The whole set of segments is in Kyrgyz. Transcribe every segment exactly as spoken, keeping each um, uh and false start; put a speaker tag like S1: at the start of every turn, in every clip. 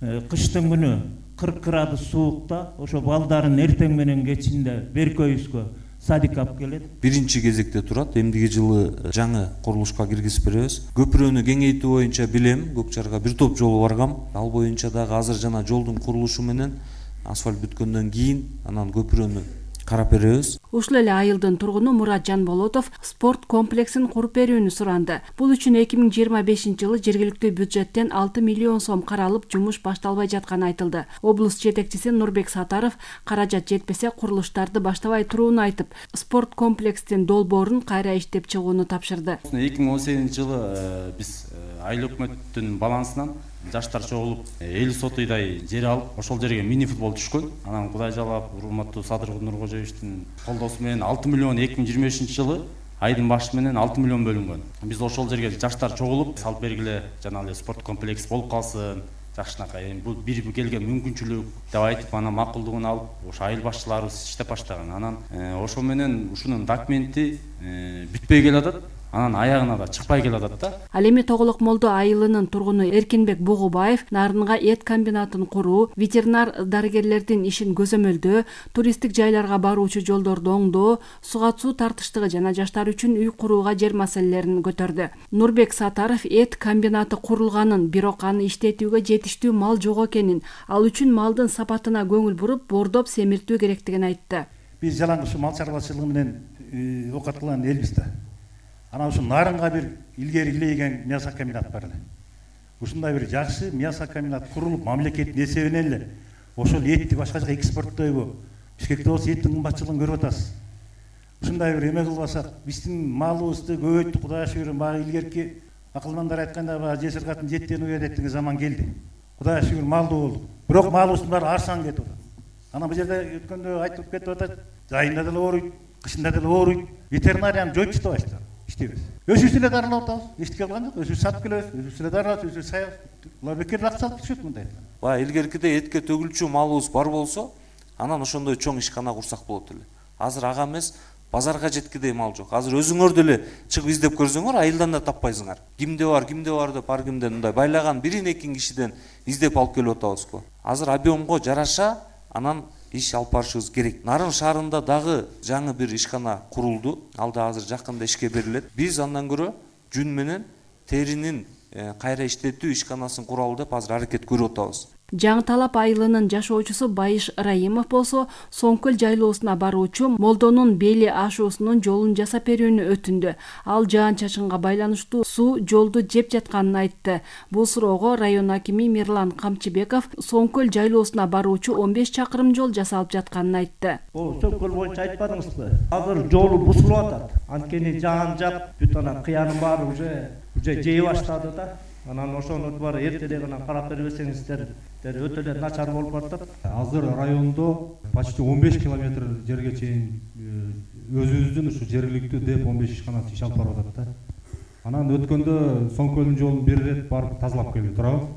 S1: кыштын күнү кырк градус суукта ошо балдарын эртең менен кечинде беркөйүзгө садик алып келет.
S2: Биринчи кезекте турат. Эмдиги жылы жаңы курулушка киргизип беребиз. Көпүрөнү кеңейтүү боюнча билем, Көкчарга бир топ жол баргам. Ал боюнча дагы азыр жана жолдун курулушу менен асфальт бүткөндөн кийин анан көпүрөнү карап беребиз.
S3: Ушул эле айылдын тургуну Мурат Жанболотов спорт комплексин куруп берүүнү суранды. Бул үчүн эки миң жыйырма бешинчи жылы жергиликтүү бюджеттен алты миллион сом каралып, жумуш башталбай жатканы айтылды. Облус жетекчиси Нурбек Сатаров каражат жетпесе курулуштарды баштабай турууну айтып, спорт комплекстин долбоорун кайра иштеп чыгууну тапшырды.
S4: эки миң он сегизинчи жылы биз айыл өкмөттүн балансынан жаштар чогулуп эл сотуйдай жер алып, ошол жерге мини футбол түшкөн. Анан Кудай жалап, урматтуу Садыр Нуркожоевичтин колдоосу менен алты миллион эки миң жыйырма бешинчи жылы айдын башы менен алты миллион бөлүнгөн. Биз ошол жерге жаштар чогулуп салып бергиле, жана эле спорт комплекс болуп калсын, жакшынакай. Бул бир келген мүмкүнчүлүк деп айтып, анан макулдугун алып, ошо айыл башчыларыбыз иштеп баштаган. Анан ошо менен ушунун документи бүтпөй келатат. Анан аягына да чыкпай келатат да.
S3: Ал эми Тоголок Молдо айылынын тургуну Эркинбек Бугубаев нарынга эт комбинатын куруу, ветеринар дарыгерлердин ишин көзөмөлдөө, туристтик жайларга баруучу жолдорду оңдоо, суга суу тартыштыгы жана жаштар үчүн үй курууга жер маселелерин көтөрдү. Нурбек Сатаров эт комбинаты курулганын, бирок аны иштетүүгө жетиштүү мал жок экенин, ал үчүн малдын сапатына көңүл буруп, бордоп семиртүү керектигин айтты.
S5: Биз жалаңгыш мал чарбачылыгы менен окуткан элбиз да. Анан ушу нарынга бир илгери илейген мясо комбинат бар эле. Ушундай бир жакшы мясо комбинат курулуп, мамлекеттин эсебинен эле ошол этти башка жака экспорттойбу, Бишкекте болсо эттин кымбатчылыгын көрүп атасыз. Ушундай бир эме кылбасак, биздин малыбызды көбөйттүк, Кудайга шүгүр, баягы илгерки акылмандар айткандай, баягы жесир катын жеттен уя деген заман келди. Кудайга шүгүр, малдуу болдук. Бирок малыбыздын баары арзан кетип атат. Анан бул жерде өткөндө айтылып кетип атат, жайында деле ооруйт, кышында деле ооруйт. Ветеринарияны жоюп таштабайсыздар. Иштейбиз. Өзүбүз эле дарылап атабыз. Эчтеке кылган жок. Өзүбүз сатып келебиз. Өзүбүз эле дарылап, өзүбүз саябыз. Булар бекер акча алып түшөт мындай.
S2: Баягы илгеркиде этке төгүлчү малыбыз бар болсо, анан ошондой чоң ишкана курсак болот эле. Азыр ага эмес, базарга жеткидей мал жок. Азыр өзүңөр деле чыгып издеп көрсөңөр, айылдан да таппайсыңар. Кимде бар, кимде бар деп ар кимден мындай байлаган бирин экин кишиден издеп алып келип атабыз го. Азыр объемго жараша анан иш алып барышыбыз керек. Нарын шаарында дагы жаңы бир ишкана курулду. Ал да азыр жакында ишке берилет. Биз андан көрө жүн менен теринин кайра иштетүү ишканасын куралы деп азыр аракет көрүп атабыз.
S3: Жаңы Талап айылынын жашоочусу Байыш Раимов болсо, Соңкөл жайлоосуна баруучу Молдонун Бели ашуусунун жолун жасап берүүнү өтүндү. Ал жаан-чачынга байланыштуу суу жолду жеп жатканын айтты. Бул суроого район акими Мирлан Камчыбеков Соңкөл жайлоосуна баруучу он беш чакырым жол жасалып жатканын айтты.
S6: О, Соңкөл боюнча айтпадыңызбы? Азыр жолу бузулуп атат. Анткени жаан жак бүт ана кыянын баары уже уже жей баштады да. Анан ошону баары эртеде гана карап бербесеңиздер, өтө эле начар болуп атат.
S7: Азыр райондо почти он беш километр жерге чейин өзүбүздүн ушу жергиликтүү деп он беш ишканасы иш алып барып атат да. Анан өткөндө Соңкөлдүн жолун бир ирет барып тазалап келип турабыз.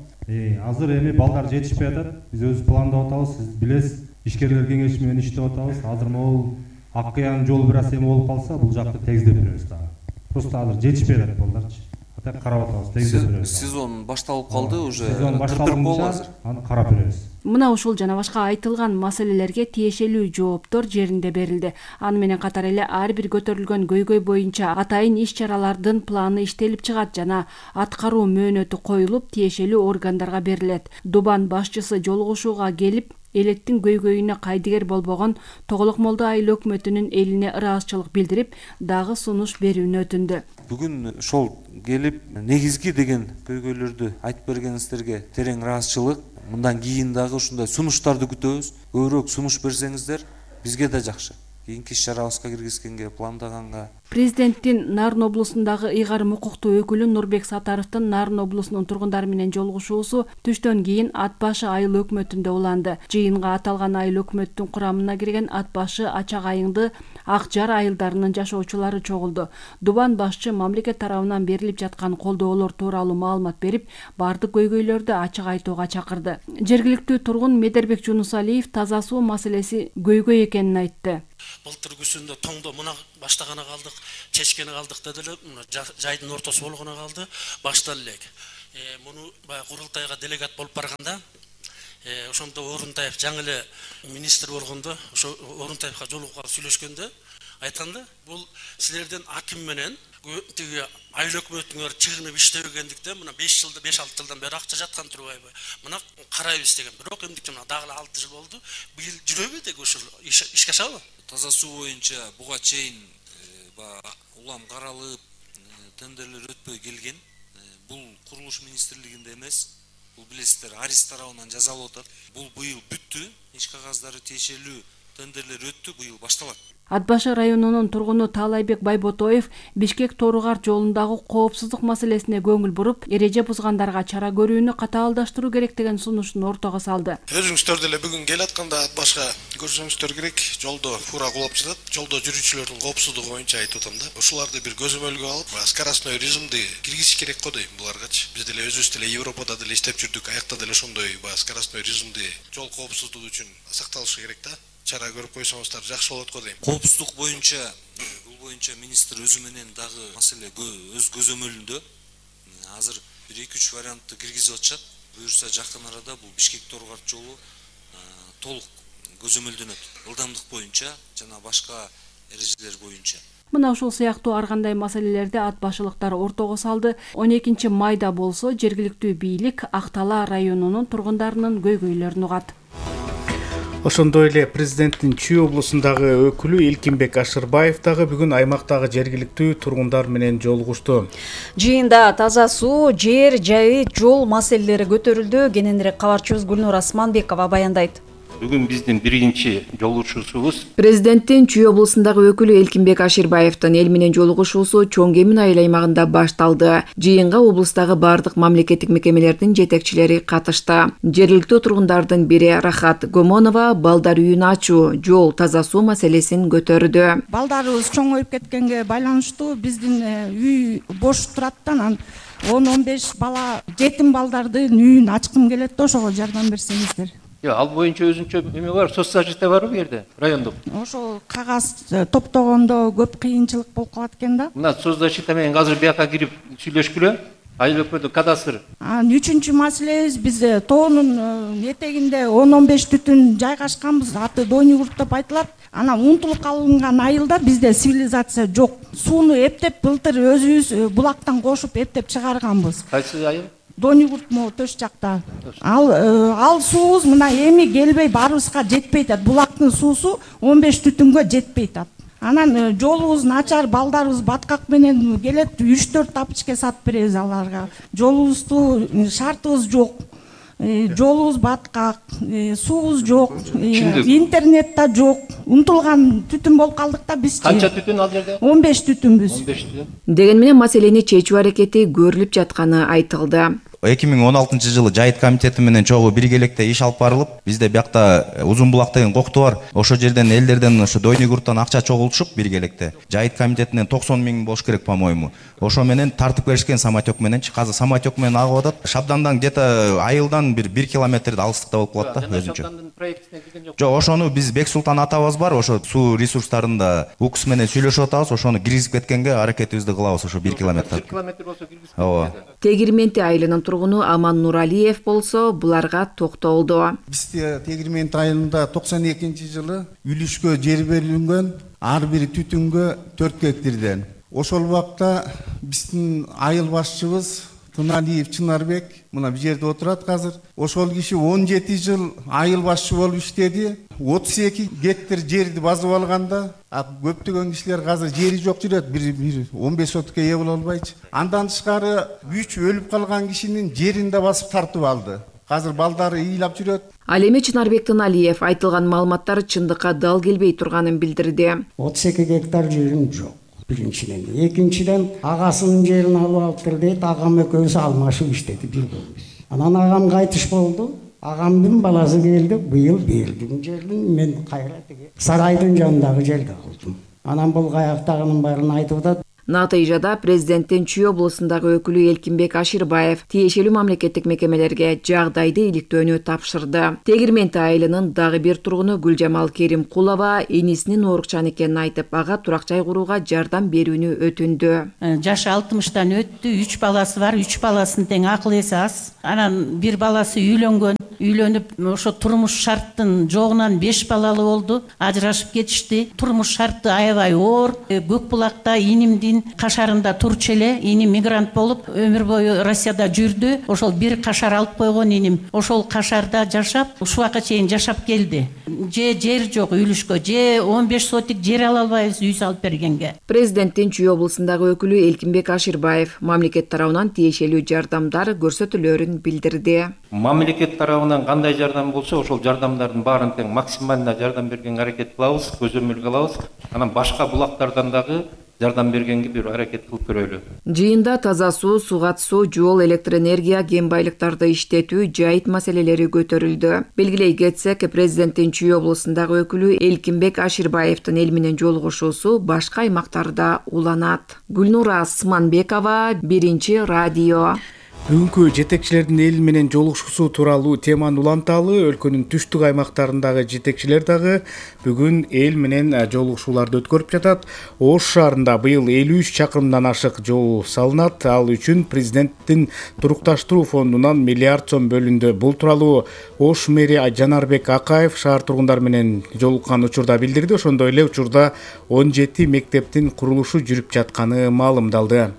S7: Азыр эми балдар жетишпей атат. Биз өзүбүз пландап атабыз, сиз билесиз. Ишкерлер кеңеши менен иштеп атабыз. Азыр могул ак кыян жолу бир аз эме болуп калса, бул жакты тегиздеп беребиз дагы. Просто азыр жетишпей атат балдарчы. Карап атабыз, тегиздеп беребиз.
S2: Сезон башталып калды, уже
S7: сезон башталганда аны карап беребиз.
S3: Мына ушул жана башка айтылган маселелерге тиешелүү жооптор жеринде берилди. Аны менен катар эле ар бир көтөрүлгөн көйгөй боюнча атайын иш-чаралардын планы иштелип чыгат жана аткаруу мөөнөтү коюлуп, тиешелүү органдарга берилет. Дубан башчысы жолугушууга келип, элеттин көйгөйүнө кайдыгер болбогон Тоголок Молдо айыл өкмөтүнүн элине ыраазычылык билдирип, дагы сунуш берүүнү өтүндү.
S2: Бүгүн ошол келип негизги деген көйгөйлөрдү айтып бергениңиздерге терең ыраазычылык. Мындан кийин дагы ушундай сунуштарды күтөбүз. Көбүрөөк сунуш берсеңиздер бизге да жакшы. Кийинки иш-чарабызга киргизгенге, пландаганга.
S3: Президенттин Нарын облусундагы ыйгарым укуктуу өкүлү Нурбек Сатаровдун Нарын облусунун тургундары менен жолугушуусу түштөн кийин Ат башы айыл өкмөтүндө уланды. Жыйынга аталган айыл өкмөттүн курамына кирген Ат башы, Ачак айыңды, Ак Жар айылдарынын жашоочулары чогулду. Дубан башчы мамлекет тарабынан берилип жаткан колдоолор тууралуу маалымат берип, бардык көйгөйлөрдү ачык айтууга чакырды. Жергиликтүү тургун Медербек Жунусалиев таза суу маселеси көйгөй экенин айтты.
S8: Былтыр күзүндө тоңдо мына баштагана калдык, чечкени калдык деди эле, мына жайдын ортосу болгоно калды, башталды элек. Муну баягы курултайга делегат болуп барганда, ошондо Орунтаев жаңы эле министр болгондо ошо Орунтаевга жолугуп калып сүйлөшкөндө айткан да, бул силердин аким менен тиги айыл өкмөтүңөр чыгынып иштебегендиктен мына беш жылда беш алты жылдан бери акча жаткан турбайбы? Мына карайбыз деген. Бирок эмдикче мына дагы алты жыл болду. Быйыл жүрөбү деги ушул ишке ашабы?
S2: Таза суу боюнча буга чейин улам каралып, тендерлер өтпөй келген. Бул курулуш министрлигинде эмес. Бул билесиздер, Арис тарабынан жасалып атат. Бул быйыл бүттү. Иш кагаздары тиешелүү тендерлер өттү, быйыл башталат.
S3: Ат башы районунун тургуну Таалайбек Байботоев Бишкек-Тору-Кар жолундагы коопсуздук маселесине көңүл буруп, эреже бузгандарга чара көрүүнү катаалдаштыруу керек деген сунушун ортого салды.
S9: Өзүңүздөр деле бүгүн келатканда ат башка көрсөңүздөр керек, жолдо фура кулап жатат. Жолдо жүрүүчүлөрдүн коопсуздугу боюнча айтып атам да. Ушуларды бир көзөмөлгө алып, скоростной режимди киргизиш керек го дейм буларгачы. Биз деле өзүбүз деле Европада деле иштеп жүрдүк, аякта деле ошондой скоростной режимди жол коопсуздугу үчүн сакталышы керек да. Чара көрүп койсоңуздар жакшы болот го дейм.
S2: Коопсуздук боюнча, бул боюнча министр өзү менен дагы маселе өз көзөмөлүндө. Азыр бир эки үч вариантты киргизип атышат. Буюрса жакын арада бул Бишкек-Тору-Кар жолу толук көзөмөлдөнөт. Ылдамдык боюнча жана башка эрежелер боюнча.
S3: Мына ушул сыяктуу ар кандай маселелерди ат башылыктар ортого салды. он экинчи майда болсо жергиликтүү бийлик Ак-Талаа районунун тургундарынын көйгөйлөрүн угат.
S10: Ошондой эле президенттин Чүй облусундагы өкүлү Элкинбек Ашырбаев дагы бүгүн аймактагы жергиликтүү тургундар менен жолугушту.
S11: Жыйында таза суу, жер жайы, жол маселелери көтөрүлдү. Кененирээк кабарчыбыз Гүлнур Асманбекова баяндайт.
S12: Бүгүн биздин биринчи жолугушуусубуз
S13: Президенттин Чүй облусундагы өкүлү Элкинбек Ашырбаевдин эл менен жолугушуусу Чоң Кемин айыл аймагында башталды. Жыйынга облустагы бардык мамлекеттик мекемелердин жетекчилери катышты. Жергиликтүү тургундардын бири Рахат Гомонова балдар үйүн ачуу, жол, таза суу маселесин көтөрдү.
S14: Балдарыбыз чоңоюп кеткенге байланыштуу биздин үй бош турат да, анан он он беш бала жетим балдардын үйүн ачкым келет да, ошого жардам берсеңиздер.
S12: Yo, ал боюнча өзүнчө эме бар, соцзащита барбы бу жерде, райондук?
S14: Ошол кагаз топтогондо көп кыйынчылык болуп калат экен да.
S12: Мына соцзащита менен азыр бияка кирип сүйлөшкүлө. Айыл өкмөтү кадастр.
S14: Анан үчүнчү маселебиз, биз тоонун этегинде он он беш түтүн жайгашканбыз, аты Дойнугурт деп айтылат. Анан унутулуп калынган айылда бизде цивилизация жок. Сууну эптеп былтыр өзүбүз булактан кошуп эптеп чыгарганбыз.
S12: Кайсы айыл?
S14: Дойнугурт могу төш жакта. Ал ал суубуз мына эми келбей баарыбызга жетпей атат. Булактын суусу он беш түтүнгө жетпей атат. Анан жолубуз начар, балдарыбыз баткак менен келет, үч төрт тапочка сатып беребиз аларга. Жолубузду шартыбыз жок. Жолубуз баткак, суубуз жок, интернет да жок. Унутулган түтүн болуп калдык да биз.
S12: Канча түтүн ал жерде?
S14: он беш түтүнбүз.
S12: он беш түтүн.
S13: Деген менен маселени чечүү аракети көрүлүп жатканы айтылды.
S15: эки миң он алтынчы жылы Жайыт комитети менен чогуу биргеликте иш алып барылып, бизде биякта Узун булак деген кокту бар. Ошо жерден элдерден ошо Дойнугурттан акча чогултушуп биргеликте. Жайыт комитетинен токсон миң болуш керек, по-моему. Ошо менен тартып беришкен самотек мененчи. Азыр самотек менен агып атат. Шабдандан где-то айылдан бир бир километр алыстыкта болуп калат да өзүнчө. Жок, ошону биз Бексултан атабыз бар, ошо суу ресурстарында УКС менен сүйлөшүп атабыз, ошону киргизип кеткенге аракетибизди кылабыз, ошо бир километр.
S12: бир километр болсо киргизип.
S15: Ооба.
S13: Тегирменти айылынын тургуну Аман Нуралиев болсо буларга токтолду.
S16: Бизде Тегирменти айылында токсон экинчи жылы үлүшкө жер берилген, ар бир түтүнгө төрт гектардан. Ошол убакта биздин айыл башчыбыз Туналиев Чынарбек мына бул жерде отурат азыр. Ошол киши он жети жыл айыл башчы болуп иштеди. отуз эки гектар жерди басып алганда, көптөгөн кишилер азыр жери жок жүрөт, бир он беш сотукка ээ боло албайчы. Андан тышкары үч өлүп калган кишинин жерин да басып тартып алды. Азыр балдары ыйлап жүрөт.
S13: Ал эми Чынарбек Туналиев айтылган маалыматтар чындыкка дал келбей турганын билдирди.
S17: отуз эки гектар жерим жок. Биринчиден, экинчиден агасынын жерин алып алыптыр дейт, агам экөөбүз алмашып иштетип жүргөнбүз. Анан агам кайтыш болду. Агамдын баласы келди, быйыл бердим жерин мен кайра тиги сарайдын жанындагы жерде калдым. Анан бул каяктагынын баарын айтып атат.
S13: Натыйжада президенттин Чүй облусундагы өкүлү Элкинбек Ашырбаев тиешелүү мамлекеттик мекемелерге жагдайды иликтөөнү тапшырды. Тегирменти айылынын дагы бир тургуну Гүлжамал Керимкулова энисинин оорукчан экенин айтып, ага турак жай курууга жардам берүүнү өтүндү.
S18: Жашы алтымыштан өттү, үч баласы бар, үч баласынын тең акыл эси аз. Анан бир баласы үйлөнгөн. үйлөнүп ошо турмуш шарттын жогунан беш балалы болду, ажырашып кетишти. Турмуш шарты аябай оор. Көк булакта инимдин кашарында турчу эле. Иним мигрант болуп өмүр бою Россияда жүрдү. Ошол бир кашар алып койгон иним. Ошол кашарда жашап, ушуга чейин жашап келди. Же жер жок үйлүшкө, же он беш сотик жер ала албайбыз үй салып бергенге.
S13: Президенттин Чүй облусундагы өкүлү Элкинбек Аширбаев мамлекет тарабынан тиешелүү жардамдар көрсөтүлөрүн билдирди.
S12: Мамлекет тарабынан кандай жардам болсо, ошол жардамдардын баарын тең максималына жардам бергенге аракет кылабыз, көзөмөл кылабыз. Анан башка булактардан дагы жардам бергенге бир аракет кылып көрөлү.
S13: Жыйында таза суу, сугат суу, жол, электр энергия, кен байлыктарды иштетүү, жайыт маселелери көтөрүлдү. Белгилей кетсек, президенттин Чүй облусундагы өкүлү Элкинбек Аширбаевдин эл менен жолугушуусу башка аймактарда уланат. Гүлнура Сманбекова, Биринчи радио.
S10: Бүгүнкү жетекчилердин эл менен жолугушуусу тууралуу теманы уланталы. Өлкөнүн түштүк аймактарындагы жетекчилер дагы бүгүн эл менен жолугушууларды өткөрүп жатат. Ош шаарында быйыл элүү үч чакырымдан ашык жол салынат. Ал үчүн президенттин турукташтыруу фондунан миллиард сом бөлүндү. Бул тууралуу Ош мэри Жанарбек Акаев шаар тургундары менен жолуккан учурда билдирди. Ошондой эле учурда он жети мектептин курулушу жүрүп жатканы маалымдалды.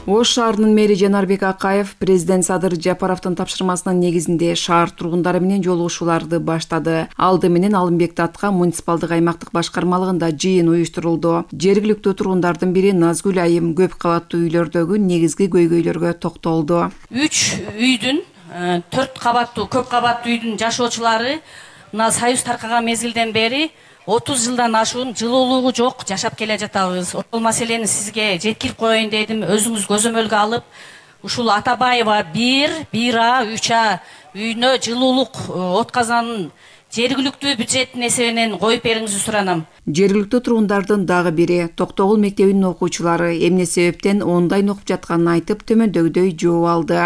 S13: Ош шаарынын мэри Жанарбек Акаев президент Садыр Жапаровдун тапшырмасынын негизинде шаар тургундары менен жолугушууларды баштады. Алды менен Алымбек Татка муниципалдык аймактык башкармалыгында жыйын уюштурулду. Жергиликтүү тургундардын бири Назгүл Айым көп кабаттуу үйлөрдөгү негизги көйгөйлөргө токтолду.
S19: үч үйдүн төрт кабаттуу көп кабаттуу үйдүн жашоочулары мына союз таркаган мезгилден бери отуз жылдан ашуун жылуулугу жок жашап келе жатабыз. Ошол маселени сизге жеткирип коеюн дедим. Өзүңүз көзөмөлгө алып, ушул Атабаева бир, бир А, үч А үйүнө жылуулук от казанын жергиликтүү бюджеттин эсебинен коюп бериңизди суранам.
S13: Жергиликтүү тургундардын дагы бири Токтогул мектебинин окуучулары эмне себептен ондайн окуп жатканын айтып төмөндөгүдөй жооп алды.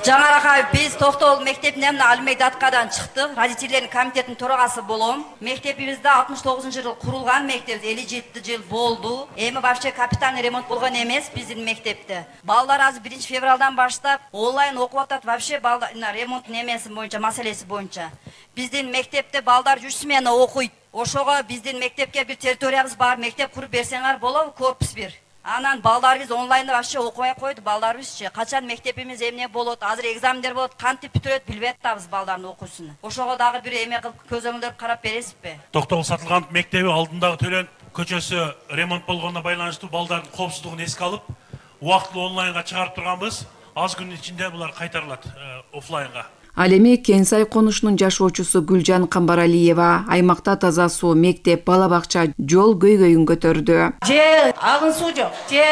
S20: Жаңаракаев биз Токтогул мектебинен Алымбек Таткадан чыктык. Родительдердин комитетинин төрагасы болом. Мектебибизде алтымыш тогузунчу жылы курулган мектеп, элүү жети жыл болду. Эми вообще капитальный ремонт болгон эмес биздин мектепте. Балдар азыр биринчи февралдан баштап онлайн окуп атат. Вообще балдар ремонттун эмеси боюнча, маселеси боюнча. Биздин мектепте балдар үч смена окуйт. Ошого биздин мектепке бир территориябыз бар, мектеп куруп берсеңер болобу, корпус бир. Анан балдарыбыз онлайнда вообще окубай койду, балдарыбызчы. Качан мектебimiz эмне болот, азыр экзамендер болот, кантип бүтүрөт билбей атабыз балдардын окуусун. Ошого дагы бир эме кылып көзөмөлдөр карап бересизби?
S21: Токтогул сатылган мектеби алдындагы Төлөн көчөсү ремонт болгонуна байланыштуу балдардын коопсуздугун эске алып, убактылуу онлайнга чыгарып турганбыз. Аз күн ичинде булар кайтарылат офлайнга.
S13: Ал эми Кенсай конушунун жашоочусу Гүлжан Камбаралиева аймакта таза суу, мектеп, бала бакча, жол көйгөйүн көтөрдү.
S19: Же агын суу жок, же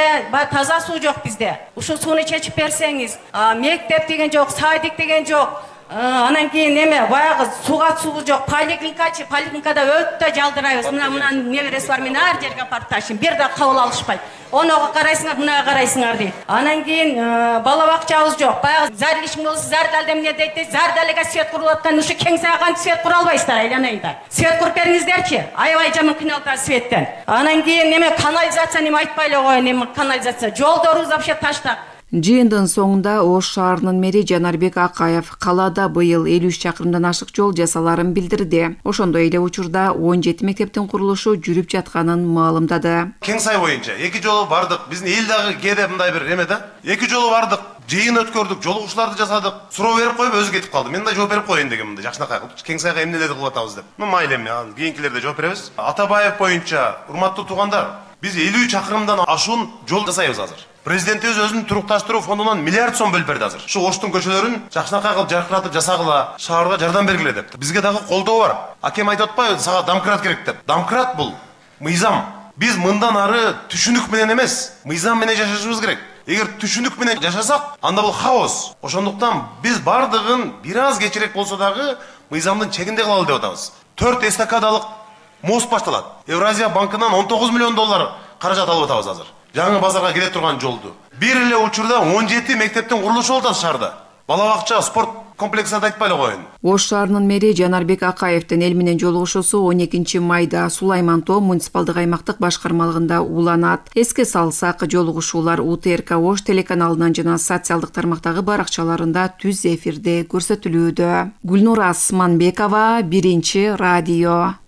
S19: таза суу жок бизде. Ушул сууну чечип берсеңиз, мектеп деген жок, садик деген жок. Анан кийин эме баягы сугат суу жок, поликлиникачы, поликлиникада өтө жалдырайбыз. Мына мына небереси бар, мен ар жерге апарып ташыйм, бир да кабыл алышпайт. Онога карайсыңар, мынага карайсыңар дейт. Анан кийин бала бакчабыз жок. Баягы зар ишин болсо зардалда эмне дейт, зардалга свет куруп аткан, ушу кең сайган свет кура албайсыздар, айланайындар. Свет куруп бериңиздерчи? Аябай жаман кыйналат светтен. Анан кийин эме канализация эме айтпай эле коеюн, эме канализация. Жолдорубуз вообще таштак.
S13: Жыйындын соңунда Ош шаарынын мэри Жанарбек Акаев калаада быйыл элүү үч чакырымдан ашык жол жасаларын билдирди. Ошондой эле учурда он жети мектептин курулушу жүрүп жатканын маалымдады.
S22: Кеңсай боюнча эки жолу бардык. Биздин эл дагы кээде мындай бир эме да. Эки жолу бардык. Жыйын өткөрдүк, жолугушууларды жасадык. Суроо берип коюп өзү кетип калды. Мен да жооп берип коеюн дегем мындай жакшынакай кылып. Кеңсайга эмнелерди кылып атабыз деп. Ну майыл эми, кийинкилерде жооп беребиз. Атабаев боюнча, урматтуу туугандар, биз элүү чакырымдан ашуун жол жасайбыз азыр. Президентибиз өзүнүн турукташтыруу фондунан миллиард сом бөлүп берди азыр. Ушу Оштун көчөлөрүн жакшынакай кылып жаркыратып жасагыла, шаарга жардам бергиле деп. Бизге дагы колдоо бар. Акем айтып атпайбы, сага домкрат керек деп. Домкрат бул мыйзам. Биз мындан ары түшүнүк менен эмес, мыйзам менен жашашыбыз керек. Эгер түшүнүк менен жашасак, анда бул хаос. Ошондуктан биз бардыгын бир аз кечирээк болсо дагы мыйзамдын чегинде кылалы деп атабыз. төрт эстакадалык мост башталат. Евразия банкынан он тогуз миллион доллар каражат алып атабыз азыр. Жаңы базарга келе турган жолду. Бир эле учурда он жети мектептин курулушу болот шаарда. Бала бакча, спорт комплексат айтпай эле коеюн.
S13: Ош шаарынын мэри Жанарбек Акаевдин эл менен жолугушуусу он экинчи майда Сулайман Тоо муниципалдык аймактык башкармалыгында уланат. Эске салсак, жолугушуулар У Т Р К Ош телеканалынан жана социалдык тармактагы баракчаларында түз эфирде көрсөтүлүүдө. Гүлнура Асманбекова, Биринчи радио.